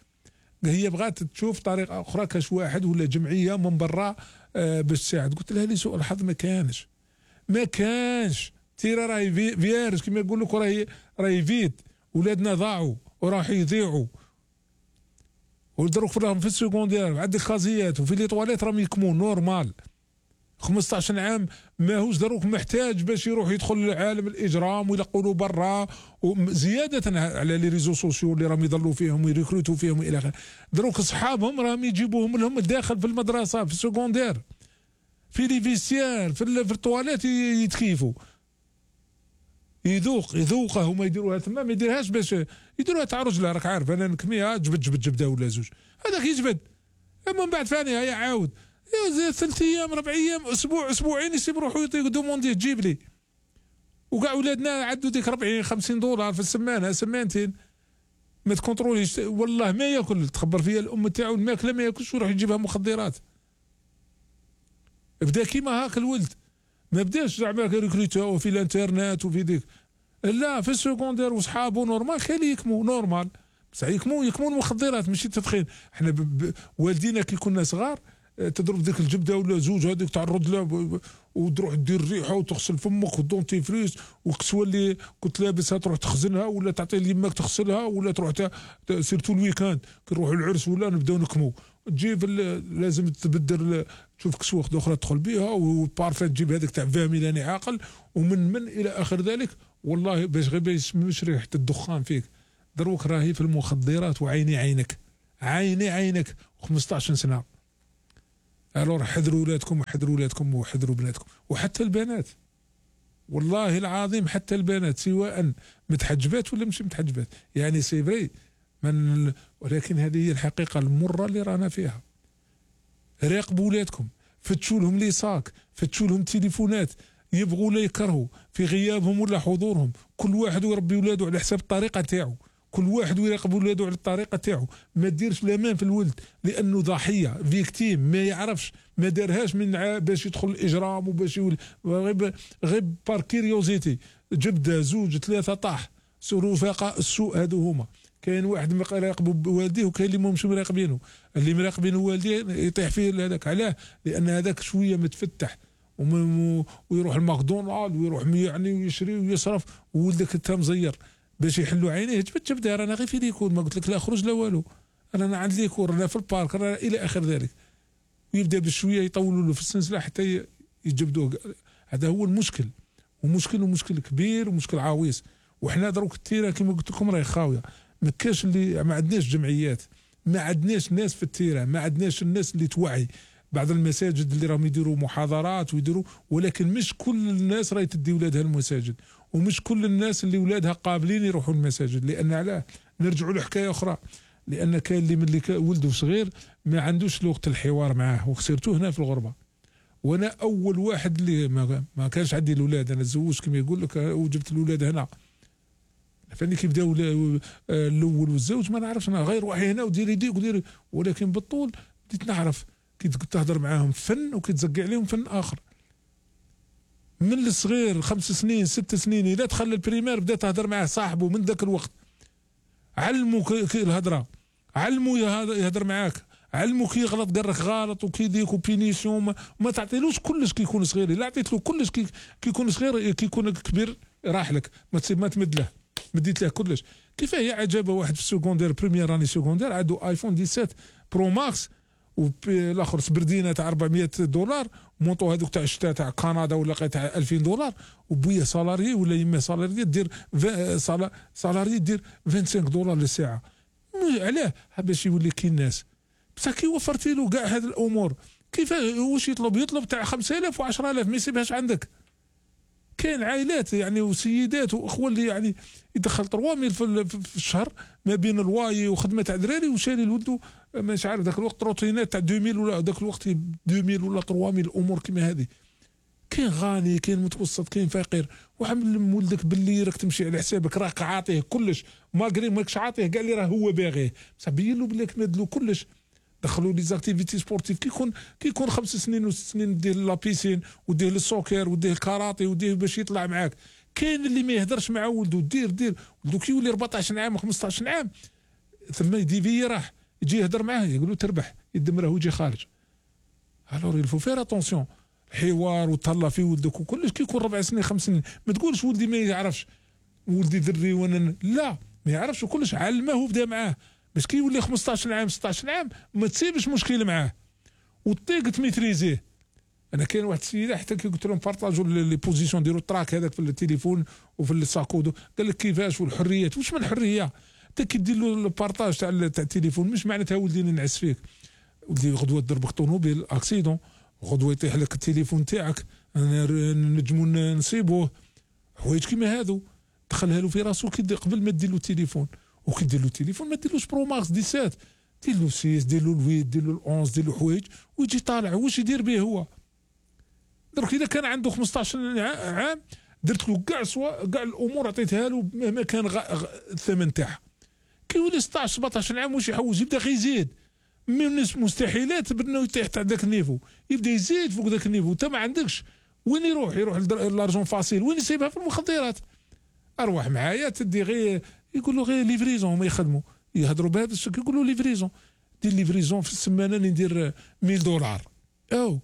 هي بغات تشوف طريقه اخرى كاش واحد ولا جمعيه من برا آه باش تساعد. قلت لها لسوء الحظ ما كانش ما كانش تيرا راهي فيارج كما يقول لك راهي راهي فيد ولادنا ضاعوا وراح يضيعوا ودروك راهم في السكوندير عند الكازيات وفي لي طواليت راهم يكمون نورمال. خمسطاش عام ماهوش دروك محتاج باش يروح يدخل لعالم الاجرام ويلقوا برا زياده على لي ريزو سوسيو اللي راهم يضلوا فيهم ويريكروتوا فيهم الى اخره. دروك اصحابهم راهم يجيبوهم لهم داخل في المدرسه في السكوندير في لي فيستيار في, في الطواليت يتكيفوا يذوق يذوقها هما يديروها تما ما يديرهاش باش يديروها تاع رجله. راك عارف انا نكميها جبد جبد جبده ولا زوج هذاك يجبد اما من بعد ثاني هيا عاود ثلاث ايام ربع ايام اسبوع اسبوعين يسيب روحو يعطيك دومونديه تجيب لي. وكاع ولادنا عدوا ديك أربعين خمسين دولار في السمانه سمانتين ما تكونتروليش والله ما ياكل. تخبر فيها الام تاعو الماكله ما ياكلش ويروح يجيبها مخدرات. بدا كيما هاك الولد ما بداش زعما ريكروتو في الانترنت وفي ديك لا في السكوندير وصحابه نورمال كان يكمو نورمال بصح يكمو يكمو المخدرات ماشي التدخين. احنا والدينا كي كنا صغار تضرب ديك الجبده ولا زوج هذيك تعرض لها وتروح دير الريحه وتغسل فمك والدونتيفريس والكسوه اللي كنت لابسها تروح تخزنها ولا تعطي ليماك تغسلها ولا تروح سيرتو الويكاند كي نروحوا للعرس ولا نبداو نكمو تجيب لازم تبدل تشوف كسوه اخرى تدخل بها وبارفان تجيب هذيك تاع فاميلاني عاقل ومن من الى اخر ذلك. والله باش غير ما يسموش ريحه الدخان فيك دروك راهي في المخدرات وعيني عينك عيني عينك خمسطاش سنه. الور حذروا ولادكم وحذروا ولادكم وحذروا بناتكم وحتى البنات والله العظيم حتى البنات سواء متحجبات ولا مش متحجبات يعني سي فري من ولكن هذه هي الحقيقه المره اللي رانا فيها. راقبوا ولادكم فتشوا لهم لي صاك فتشوا لهم تليفونات يبغوا لا يكرهوا في غيابهم ولا حضورهم كل واحد يربي ولاده على حساب الطريقه تاعو كل واحد يراقب ولاده على الطريقه تاعو ما ديرش الامان في الولد لانه ضحيه فيكتيم ما يعرفش ما دارهاش من باش يدخل الاجرام وباش غير غير بار كيريوزيتي جبده زوج ثلاثه طاح رفقاء السوء هادو هما. كاين واحد مراقب والديه وكاين اللي مش مراقبينه اللي مراقبين والديه يطيح فيه هذاك علاه لان هذاك شويه متفتح ويروح الماكدونالد ويروح يعني ويشري ويصرف وولدك انت مزير باش يحلوا عينيه جبت جبده رانا غير في ليكور ما قلت لك لا خرج لا والو رانا عند ليكور رانا في البارك رانا الى اخر ذلك ويبدا بشويه يطولوا له في السلسله حتى يجبدوه. هذا هو المشكل ومشكل ومشكل كبير ومشكل عويص. وحنا دروك التيره كما قلت لكم راهي خاويه ما كاش اللي ما عندناش جمعيات ما عندناش ناس في التيره ما عندناش الناس اللي توعي. بعض المساجد اللي راهم يديروا محاضرات ويديروا ولكن مش كل الناس راهي تدي ولادها المساجد ومش كل الناس اللي ولادها قابلين يروحوا المساجد. لان علاه نرجعوا لحكايه اخرى لان كاين اللي من اللي ولده صغير ما عندوش لغه الحوار معاه وخسرته هنا في الغربه. وانا اول واحد اللي ما, ما كانش عندي الاولاد انا تزوجت كما يقول لك وجبت الاولاد هنا فاني كي بداو الاول والزوج ما نعرفش انا غير روحي هنا وديري يديك وديري ولكن بالطول بديت نعرف كي تهضر معاهم فن وكي تزقي عليهم فن اخر. من الصغير خمس سنين ست سنين الى دخل البريمير بدا تهضر معاه صاحبه من ذاك الوقت علموا الهضره علموا يهضر معاك علموا كي يغلط قال لك غلط وكي ديك بينيسيون ما, ما تعطيلوش كلش كي يكون صغير الا عطيت له كلش كي, كي يكون صغير كي يكون كبير راح لك ما ما تمد له مديت له كلش. كيف هي عجبه واحد في السكوندير بريمير راني سكوندير عنده ايفون سبعة عشر برو ماكس والاخر سبردينه تاع أربعمية دولار مونطو هذوك تاع الشتاء تاع كندا ولا تاع ألفين دولار وبويا سالاري ولا يما سالاري دير سالاري دير خمسة وعشرين دولار للساعه. علاه باش يولي كي الناس بصح كي وفرتي له كاع هذه الامور كيف واش يطلب يطلب تاع خمسة آلاف وعشرة آلاف ما يسيبهاش عندك. كاين عائلات يعني وسيدات واخوه اللي يعني يدخل ثلاثة مية في الشهر ما بين الواي وخدمه تاع دراري وشاري لولدو مش عارف ذاك الوقت روتينات تاع ألفين ولا ذاك الوقت ألفين ولا ثلاثة مية الامور كيما هذه. كاين غني كاين متوسط كاين فقير وعمل ولدك باللي راك تمشي على حسابك راك عاطيه كلش ماغري ماكش عاطيه كاع اللي راه هو باغيه بصح بين له بلي كمد له كلش. دخلوا لي زاكتيفيتي سبورتيف كي يكون كي يكون خمس سنين وست سنين ديه لا بيسين وديه للسوكر وديه الكاراتي وديه باش يطلع معاك. كاين اللي ما يهدرش مع ولده دير دير ولده كي يولي أربعطاش عام خمسطاش عام ثم يديفي راح يجي يهدر معاه يقول له تربح يدمره ويجي خارج. الور يلفو فير اتونسيون الحوار وتهلا في ولدك وكلش كي يكون ربع سنين خمس سنين ما تقولش ولدي ما يعرفش ولدي دري وانا لا ما يعرفش وكلش علمه وبدا معاه باش كي يولي خمسطاش عام ستطاش عام ما تسيبش مشكل معاه وطيق تميتريزيه. انا كاين واحد السيده حتى كي قلت لهم بارطاجوا لي بوزيسيون ديروا التراك هذاك في التليفون وفي الساكودو قال لك كيفاش والحريات واش من الحريه حتى كي دير له البارطاج تاع تاع التليفون مش معناتها ولدي نعس فيك ولدي غدوه تضربك طوموبيل اكسيدون غدوه يطيح لك التليفون تاعك نجموا نصيبوه حوايج كيما هادو دخلها له في راسو كي قبل ما دير له التليفون وكي دير له التليفون ما ديرلوش برو ماكس سبعة عشر دير له ستة دير له ثمانية دير له أحد عشر دير له حوايج ويجي طالع واش يدير به هو. درك اذا كان عنده خمسطاش عام درت له كاع سوا كاع الامور عطيتها له مهما كان غ... غ... الثمن تاعها. كي يولي ستطاش سبعطاش عام واش يحوز يبدا غير يزيد من مستحيلات بانه يطيح تاع ذاك النيفو يبدا يزيد فوق ذاك النيفو انت ما عندكش وين يروح يروح لارجون فاسيل وين يسيبها في المخدرات. اروح معايا تدي غير يقول له غير ليفريزون ما يخدموا يهضروا بهذا الشكل يقولوا ليفريزون دير ليفريزون في السمانه ندير مية دولار او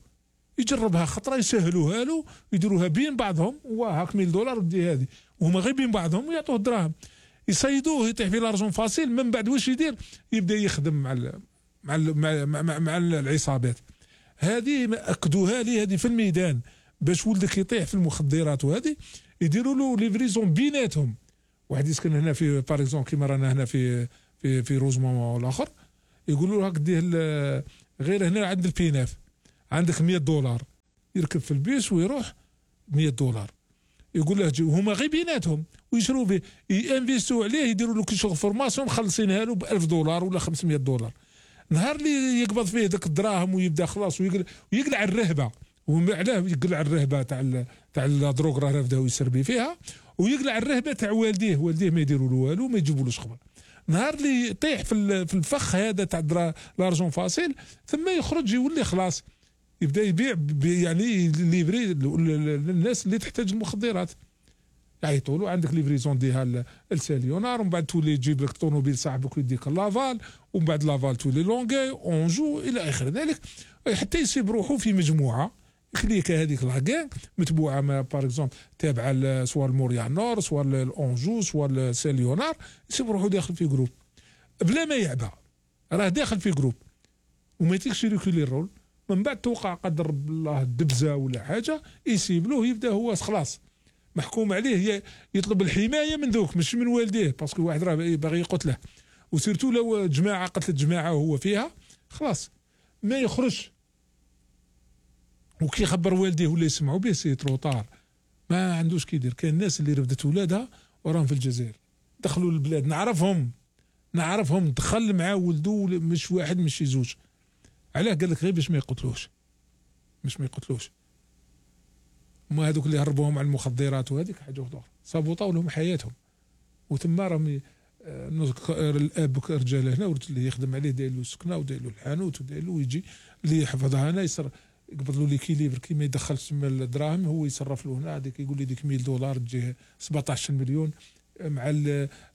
يجربها خطره يسهلوها له يديروها بين بعضهم وهاك مية دولار ودي هذه وهما غير بين بعضهم ويعطوه الدراهم يصيدوه يطيح في لارجون فاسيل. من بعد واش يدير يبدا يخدم مع ال مع ال مع, مع, مع, مع العصابات هذه. اكدوها لي هذه في الميدان باش ولدك يطيح في المخدرات وهذه يديروا له ليفريزون بيناتهم. واحد يسكن هنا في باريزون كيما رانا هنا في في في روزمون والاخر يقولوا له هاك ديه غير هنا عند البيناف عندك مية دولار يركب في البيس ويروح مية دولار يقول له جي وهما غير بيناتهم ويشروا به ينفيستوا عليه يديروا له كل شغل فورماسيون مخلصينها له ب ألف دولار ولا خمسمية دولار. نهار اللي يقبض فيه ذاك الدراهم ويبدا خلاص ويقلع ويقلع الرهبه وعلاه يقلع الرهبه تاع تاع الدروغ راه بداو يسربي فيها ويقلع الرهبه تاع والديه والديه ما يديروا له والو ما يجيبولوش خبر. نهار اللي يطيح في في الفخ هذا تاع لارجون فاسيل ثم يخرج يولي خلاص يبدا يبيع يعني ليفري للناس اللي تحتاج المخدرات يعيطوا له عندك ليفريزون ديها الساليونار ومن بعد تولي تجيب لك طوموبيل صاحبك ويديك لافال ومن بعد لافال تولي لونغي اونجو الى اخر ذلك حتى يصيب روحه في مجموعه كليكا هذيك لاكان متبوعه ما باغ اكزومبل تابعه سواء الموريال نور سواء الاونجو سواء الساليونار يصيب روحه داخل في جروب بلا ما يعبى راه داخل في جروب وما يتيكش يريكولي الرول. من بعد توقع قدر الله دبزه ولا حاجه يسيب له يبدا هو خلاص محكوم عليه يطلب الحمايه من ذوك مش من والديه باسكو واحد راه باغي يقتله وسيرتو لو جماعه قتلت جماعه وهو فيها خلاص ما يخرج وكي يخبر والديه ولا يسمعوا به سي تروطار ما عندوش كيدير. كاين الناس اللي رفدت ولادها وراهم في الجزائر دخلوا للبلاد نعرفهم نعرفهم دخل مع ولده مش واحد مش زوج علاه قال لك غير باش ما يقتلوش باش ما يقتلوش هما هذوك اللي هربوهم على المخدرات وهذيك حاجه اخرى صابوطوا لهم حياتهم وتما راهم الاب رجال هنا اللي يخدم عليه داير له السكنه وداير له الحانوت وداير له يجي اللي يحفظها هنا يصر يقبض له ليكيليبر كي ما يدخلش تما الدراهم هو يصرف له هنا هذيك يقول لي ديك مية دولار تجيه سبعطاش مليون مع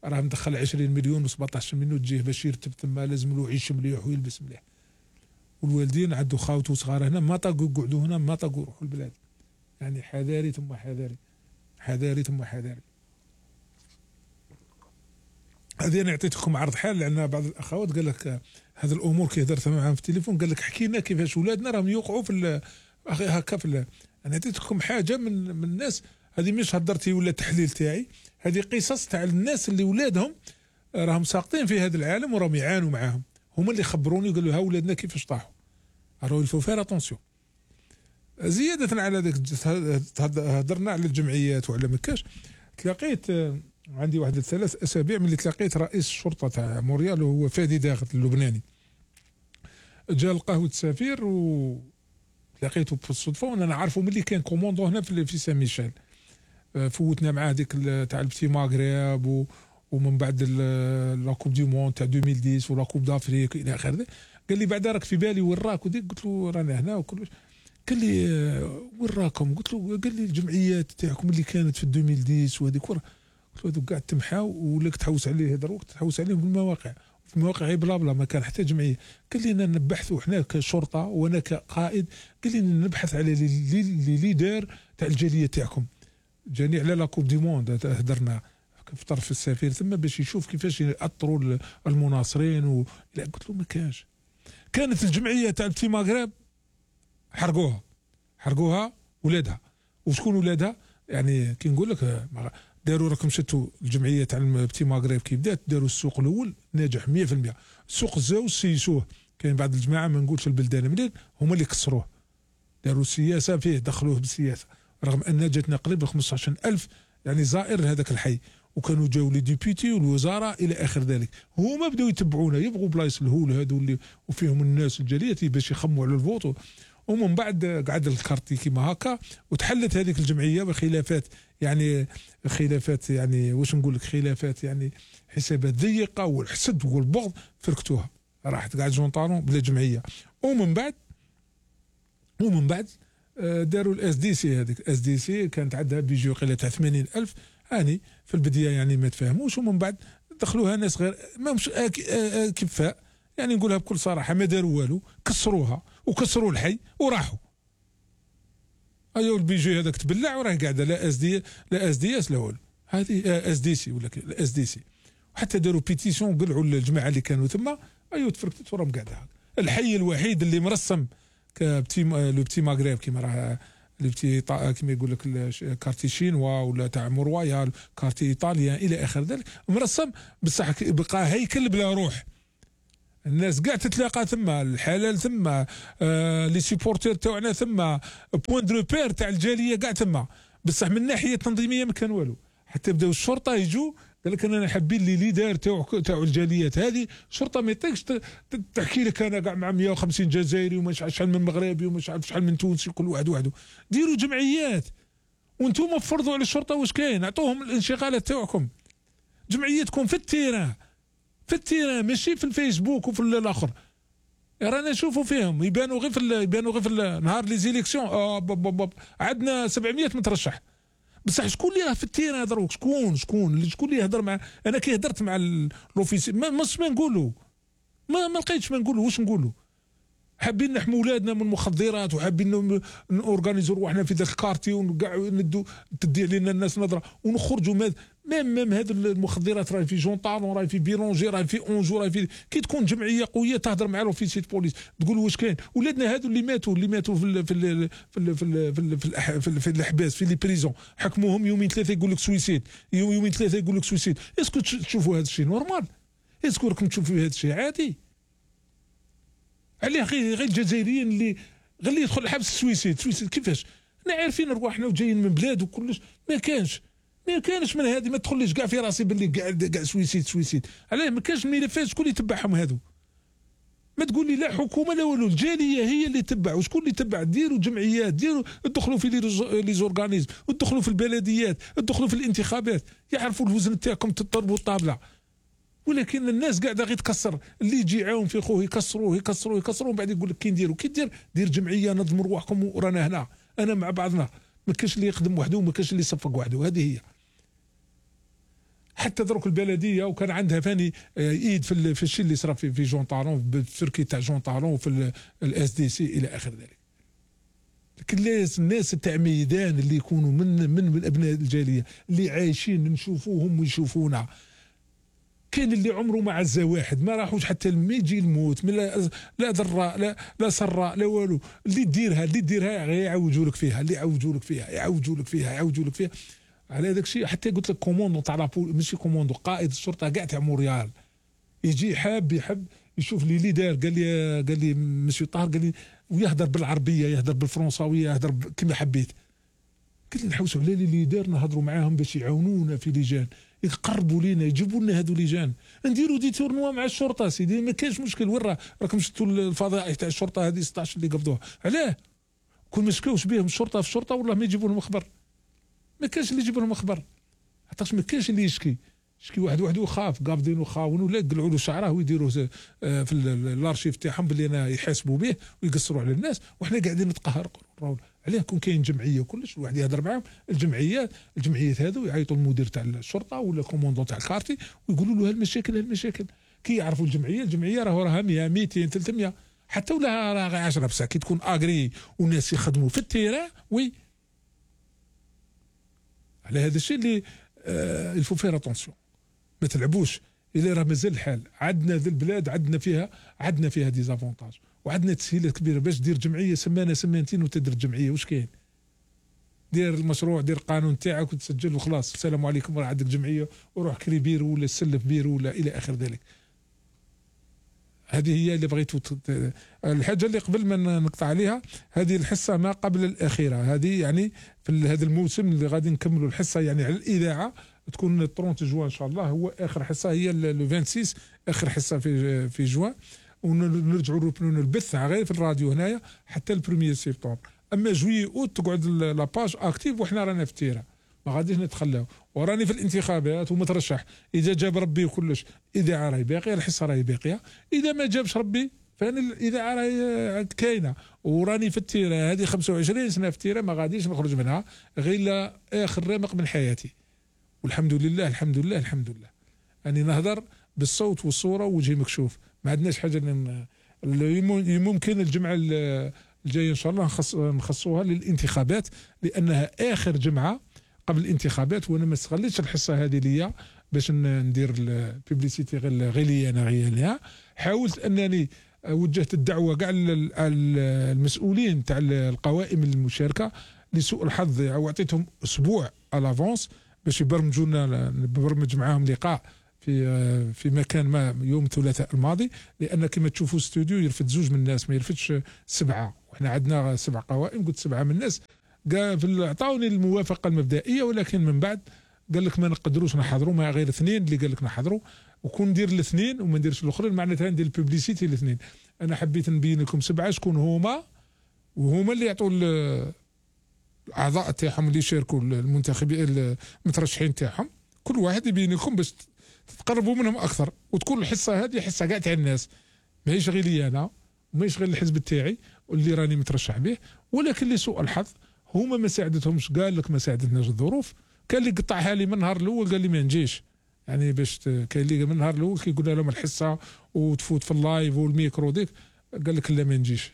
راه مدخل عشرين مليون و سبعطاش مليون تجيه باش يرتب تما لازم له يعيش مليح ويلبس مليح. والوالدين عندو خاوته صغار هنا ما طاقوا يقعدوا هنا ما طاقوا يروحوا البلاد. يعني حذاري ثم حذاري حذاري ثم حذاري. هذه انا عطيتكم عرض حال لان بعض الاخوات قال لك هذه الامور كي هدرت معاهم في التليفون قال لك حكينا كيفاش ولادنا راهم يوقعوا في هكا في. انا عطيتكم حاجه من من الناس هذه مش هدرتي ولا تحليل تاعي هذه قصص تاع الناس اللي ولادهم راهم ساقطين في هذا العالم وراهم يعانوا معاهم هما اللي خبروني قالوا ها ولادنا كيفاش طاحوا. راهو الفو فير اتونسيون. زياده على ذاك هضرنا على الجمعيات وعلى مكاش تلاقيت عندي واحد الثلاث اسابيع ملي تلاقيت رئيس الشرطه تاع موريال وهو فادي داغت اللبناني جا لقاه السفير و لقيته بالصدفه وانا عارفه ملي كان كوموندو هنا في في سان ميشيل. فوتنا معاه ديك تاع البتي ماغريب و ومن بعد لا كوب دي مون تاع ألفين وعشرة ولا كوب دافريك الى اخره. قال لي بعدا راك في بالي وين راك وديك قلت له رانا هنا وكلش. قال لي وين راكم؟ قلت له قال لي الجمعيات تاعكم اللي كانت في ألفين وعشرة وهذيك ورا. قلت له هذوك قاعد تمحاو ولك تحوس عليه هذا الوقت تحوس عليهم في المواقع في المواقع بلا بلا ما كان حتى جمعيه. قال لي انا نبحثوا حنا كشرطه وانا كقائد قال لي نبحث على لي ليدر تاع الجاليه تاعكم. جاني على لا كوب دي موند هدرنا في طرف السفير ثم باش يشوف كيفاش يأطروا المناصرين و... لا قلت له ما كانش. كانت الجمعيه تاع البتي ماغرب حرقوها حرقوها ولادها. وشكون ولادها؟ يعني كي نقول لك داروا راكم شفتوا الجمعيه تاع البتي ماغرب كي بدات داروا السوق الاول ناجح مية في المية. السوق الزاوج سيسوه كاين بعض الجماعه ما نقولش البلدان منين هما اللي كسروه داروا السياسه فيه دخلوه بالسياسه رغم ان جاتنا قريب خمسطاش ألف يعني زائر لهذاك الحي وكانوا جاوا لي ديبيتي والوزراء الى اخر ذلك. هما بداو يتبعونا يبغوا بلايص الهول هذو اللي وفيهم الناس الجاليه باش يخموا على الفوت. ومن بعد قعد الكارتي كيما هكا وتحلت هذيك الجمعيه بخلافات يعني خلافات يعني واش نقول لك خلافات يعني حسابات ضيقه والحسد والبغض فركتوها راحت قاعد جونطارون بلا جمعيه. ومن بعد ومن بعد داروا الاس دي سي. هذيك الاس دي سي كانت عندها بيجي قيله تاع ثمانين ألف هاني في البدايه يعني ما تفاهموش ومن بعد دخلوها ناس غير ما مش كفاء يعني نقولها بكل صراحه ما داروا والو، كسروها وكسروا الحي وراحوا. ايوا البيجي هذاك تبلع وراه قاعده لا اس دي لا اس دي اس لا والو، هذه اس دي سي ولا اس دي سي، وحتى داروا بيتيسيون وقلعوا الجماعه اللي كانوا ثم. ايوا تفركتت وراهم قاعده. الحي الوحيد اللي مرسم كبتي لو بتي ماغريب كيما راه لو بتي كيما يقول لك كارتي شينوا ولا تاع مرويال كارتي ايطاليان الى اخر ذلك، مرسم بصح بقى هيكل بلا روح. الناس قاع تتلاقى ثم، الحلال ثم، آه لي سيبورتير تاعنا ثم، بوين دو بير تاع الجاليه قاع ثم، بصح من الناحيه التنظيميه ما كان والو. حتى بداو الشرطه يجوا قال لك انا حابين لي ليدر تاع تاع الجاليات هذه، الشرطه ما يطيقش تحكي لك انا كاع مع مئة وخمسين جزائري ومش عارف شحال من مغربي ومش عارف شحال من تونسي كل واحد وحده. ديروا جمعيات وانتم فرضوا على الشرطه واش كاين، اعطوهم الانشغالات تاعكم. جمعيتكم في التيران في التيران ماشي في الفيسبوك وفي الاخر. رانا نشوفوا فيهم يبانوا غير في يبانوا غير في نهار لي زيليكسيون. آه عندنا سبعمية مترشح، بصح شكون اللي راه في التيران دروك؟ شكون شكون شكون اللي يهضر مع انا كي هضرت مع لوفيسي ما مش ما نقولوا ما ما لقيتش ما نقولوا واش نقولوا. حابين نحموا ولادنا من المخدرات وحابين نورغانيزو روحنا في ذاك الكارتي وكاع ندو تدي علينا الناس نظره ونخرجوا ميم ميم هذه المخدرات راهي في جونطالون راهي في بيرونجي راهي في اونجو راهي في كي تكون جمعيه قويه تهضر مع لوفيسي بوليس تقول واش كاين. ولادنا هذو اللي ماتوا اللي ماتوا في ال في ال في ال في ال في, ال في, ال في الاحباس في لي بريزون حكموهم يومين ثلاثه يقول لك سويسيد، يومين ثلاثه يقول لك سويسيد. اسكو تشوفوا هذا الشيء نورمال؟ اسكو راكم تشوفوا هذا الشيء عادي؟ عليه غير غير الجزائريين اللي غير اللي يدخل الحبس سويسيد سويسيد كيفاش؟ احنا عارفين رواحنا وجايين من بلاد وكلش ما كانش ما كانش من هذه ما تدخليش كاع في راسي باللي كاع كاع سويسيد سويسيد. علاه ما كانش الملفات شكون اللي يتبعهم هذو؟ ما تقول لي لا حكومه لا والو، الجاليه هي اللي تتبع. وشكون اللي يتبع؟ ديروا جمعيات، ديروا ادخلوا في لي زورغانيزم، ادخلوا في البلديات، ادخلوا في الانتخابات، يعرفوا الوزن تاعكم تضربوا الطابله. ولكن الناس قاعده غير تكسر، اللي يجي يعاون في خوه يكسروه يكسروه يكسروه ومن بعد يقول لك كي نديروا كي دير دير جمعيه نظموا رواحكم ورانا هنا انا مع بعضنا. ما كاش اللي يخدم وحده وما كاش اللي يصفق وحده. هذه هي. حتى دروك البلديه وكان عندها فاني ايد في في الشيء اللي صرا في في جون طالون بالتركي تاع جون طالون وفي الاس دي سي الى اخر ذلك. لكن لازم الناس تاع ميدان اللي يكونوا من من, من ابناء الجاليه اللي عايشين نشوفوهم ويشوفونا. كاين اللي عمره ما عزا واحد ما راحوش حتى ما يجي الموت لا لا ضراء لا لا سراء لا والو. اللي ديرها اللي ديرها غير يعوجوا لك فيها، اللي يعوجوا لك فيها يعوجوا لك فيها يعوجوا لك فيها. على هذاك الشيء حتى قلت لك كوموندو تاع لابول ماشي كوموندو قائد الشرطه كاع تاع موريال يجي حاب يحب يشوف لي ليدر قال لي قال لي مسيو طاهر قال لي ويهضر بالعربيه يهضر بالفرنساويه يهضر كما حبيت. قلت لي نحوسوا على لي ليدر نهضروا معاهم باش يعاونونا في لجان يقربوا لينا يجيبوا لنا هذو لجان نديروا دي تورنوا مع الشرطه سيدي ما كاينش مشكل. وين راه راكم شفتوا الفضائح تاع الشرطه هذه ستة عشر اللي قبضوها علاه كل ما شكاوش بهم الشرطه في الشرطه والله ما يجيبوا لهم خبر. ما كاينش اللي يجيب لهم خبر حتىش ما كاينش اللي يشكي يشكي واحد وحده وخاف قابضينه خاون ولا يقلعوا له شعره ويديروه في الارشيف تاعهم باللي انا يحاسبوا به ويقصروا على الناس وحنا قاعدين نتقهر. عليه كون كاين جمعيه وكلش الواحد يهضر معاهم الجمعيات الجمعيات هذو يعيطوا المدير تاع الشرطه ولا كوموندو تاع الكارتي ويقولوا له هالمشاكل هالمشاكل. كي يعرفوا الجمعيه الجمعيه راه راها مية ميتين ثلاثمية حتى ولا راه غير عشرة بصح كي تكون اغري والناس يخدموا في التيران وي. على هذا الشيء اللي آه الفو فير اتونسيون ما تلعبوش الا راه مازال الحال. عندنا ذي البلاد عندنا فيها عندنا فيها ديزافونتاج وعندنا تسهيلات كبيره باش دير جمعيه سمانه سمانتين وتدير جمعيه. واش كاين؟ دير المشروع دير القانون تاعك وتسجل وخلاص السلام عليكم راه عندك جمعيه وروح كري بيرو ولا سلف بيرو ولا الى اخر ذلك. هذه هي اللي بغيتو الحاجه اللي قبل ما نقطع عليها هذه الحصه ما قبل الاخيره هذه يعني في هذا الموسم اللي غادي نكملوا الحصه يعني على الاذاعه تكون ثلاثين جوان ان شاء الله هو اخر حصه هي لو ستة وعشرين اخر حصه في في جوان ونرجعوا نربنوا البث غير في الراديو هنايا حتى البروميير سبتمبر. اما جوي اوت تقعد لاباج اكتيف وحنا رانا في التيره ما غاديش نتخلاو وراني في الانتخابات ومترشح. اذا جاب ربي وكلش اذاعه راهي باقيه الحصه راهي باقيه. اذا ما جابش ربي فانا الاذاعه راهي كاينه وراني في التيره. هذه خمسة وعشرين سنه في التيره ما غاديش نخرج منها غير اخر رمق من حياتي. والحمد لله الحمد لله الحمد لله اني نهضر بالصوت والصوره ووجهي مكشوف ما عندناش حاجه اللي ممكن الجمعه الجايه ان شاء الله نخص نخصوها للانتخابات، لانها اخر جمعه قبل الانتخابات، وانا ما استغليتش الحصه هذه ليا باش ندير البيبليسيتي غير غير لي انا غير. حاولت انني وجهت الدعوه كاع المسؤولين تاع القوائم المشاركه لسوء الحظ، وعطيتهم اسبوع الافونس باش يبرمجوا لنا، نبرمج معاهم لقاء في في مكان ما يوم الثلاثاء الماضي، لان كما تشوفوا استوديو يرفد زوج من الناس ما يرفدش سبعه، وحنا عندنا سبع قوائم، قلت سبعه من الناس قال عطاوني الموافقه المبدئيه، ولكن من بعد قال لك ما نقدروش نحضروا، ما غير اثنين اللي قال لك نحضروا، وكون ندير الاثنين وما نديرش الاخرين معناتها ندير البوبليسيتي الاثنين. انا حبيت نبين لكم سبعه شكون هما، وهما اللي يعطوا الاعضاء تاعهم اللي يشاركوا المنتخبين المترشحين تاعهم، كل واحد يبين لكم باش تقربوا منهم اكثر، وتكون الحصه هذه حصه كاع تاع الناس، ماهيش غير لي انا وماهيش غير الحزب تاعي واللي راني مترشح به. ولكن لسوء الحظ هما ما ساعدتهمش، قال لك ما ساعدتناش الظروف. كان اللي قطعها لي من النهار الاول قال لي ما نجيش، يعني باش كاين اللي من النهار الاول كيقول لهم الحصه وتفوت في اللايف والميكرو ديك، قال لك لا ما نجيش،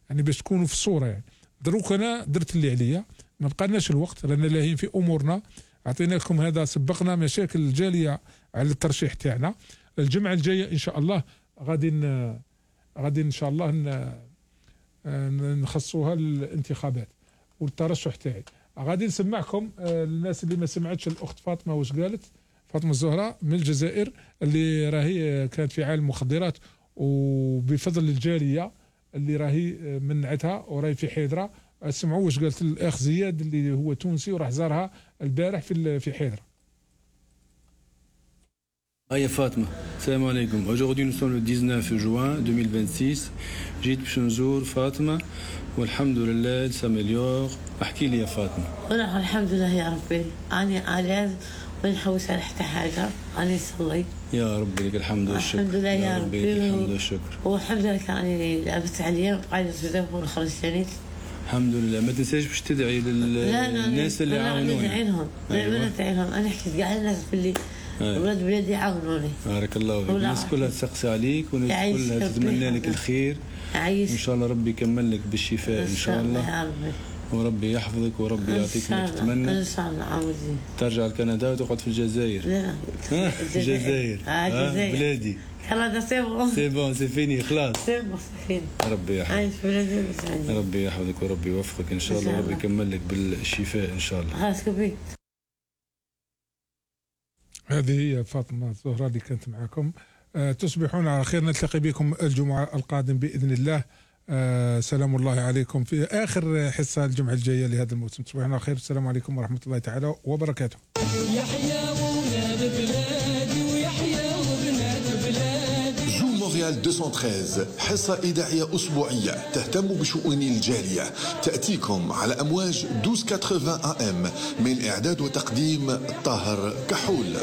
يعني باش تكونوا في الصوره. يعني دروك انا درت اللي عليا، ما بقالناش الوقت، رانا لاهين في امورنا، اعطيناكم هذا، سبقنا مشاكل الجاليه على الترشيح تاعنا. الجمعه الجايه ان شاء الله غادي غادي ان شاء الله نخصوها الانتخابات والترشح تاعي. غادي نسمعكم الناس اللي ما سمعتش الاخت فاطمه واش قالت، فاطمه الزهراء من الجزائر اللي راهي كانت في عالم المخدرات، وبفضل الجاليه اللي راهي منعتها وراهي في حيدره. اسمعوا واش قالت الاخ زياد اللي هو تونسي وراح زارها البارح في في حيدره.
هيا فاطمه، السلام عليكم. Aujourd'hui nous sommes le dix-neuf juin deux mille vingt-six. جيت باش نزور فاطمه والحمد لله سامليور. احكي لي يا فاطمه.
والله الحمد لله يا ربي، اني علاج وين نحوس على حتى حاجه، اني نصلي
يا ربي لك الحمد والشكر.
الحمد لله يا ربي
الحمد والشكر.
والحمد لله كاني لعبت عليا وقاعده تزوج ونخرج ثاني.
الحمد لله. ما تنساش باش تدعي للناس اللي عاونوني.
لا لا ندعي لهم، لا ندعي لهم، انا حكيت كاع الناس باللي ولاد بلادي عاونوني.
بارك الله فيك. الناس كلها تسقسي عليك والناس كلها تتمنى لك الخير.
عايش.
ان شاء الله ربي يكمل لك بالشفاء ان شاء الله يا ربي، وربي يحفظك وربي يعطيك ما تتمنى.
ان شاء الله عاوزين
ترجع لكندا وتقعد في الجزائر.
لا
الجزائر
الجزائر
بلادي.
خلاص سي بون
سي بون سي فيني خلاص.
سي بون سي
ربي يحفظك.
عايش بلادي وسعيد.
ربي يحفظك وربي يوفقك ان شاء الله، وربي يكمل لك بالشفاء ان شاء الله.
خلاص كبير.
هذه هي فاطمه الزهراء اللي كانت معكم. أه تصبحون على خير، نلتقي بكم الجمعه القادم باذن الله. أه سلام الله عليكم في اخر حصه الجمعه الجايه لهذا الموسم. تصبحون على خير، السلام عليكم ورحمه الله تعالى وبركاته.
يحيى ولاد بلادي ويحيى وبنات بلادي. جو مونريال مئتين وثلاثة عشر حصه اذاعيه اسبوعيه تهتم بشؤون الجاليه، تاتيكم على امواج اثناشر ثمانين ام من اعداد وتقديم طاهر كحول.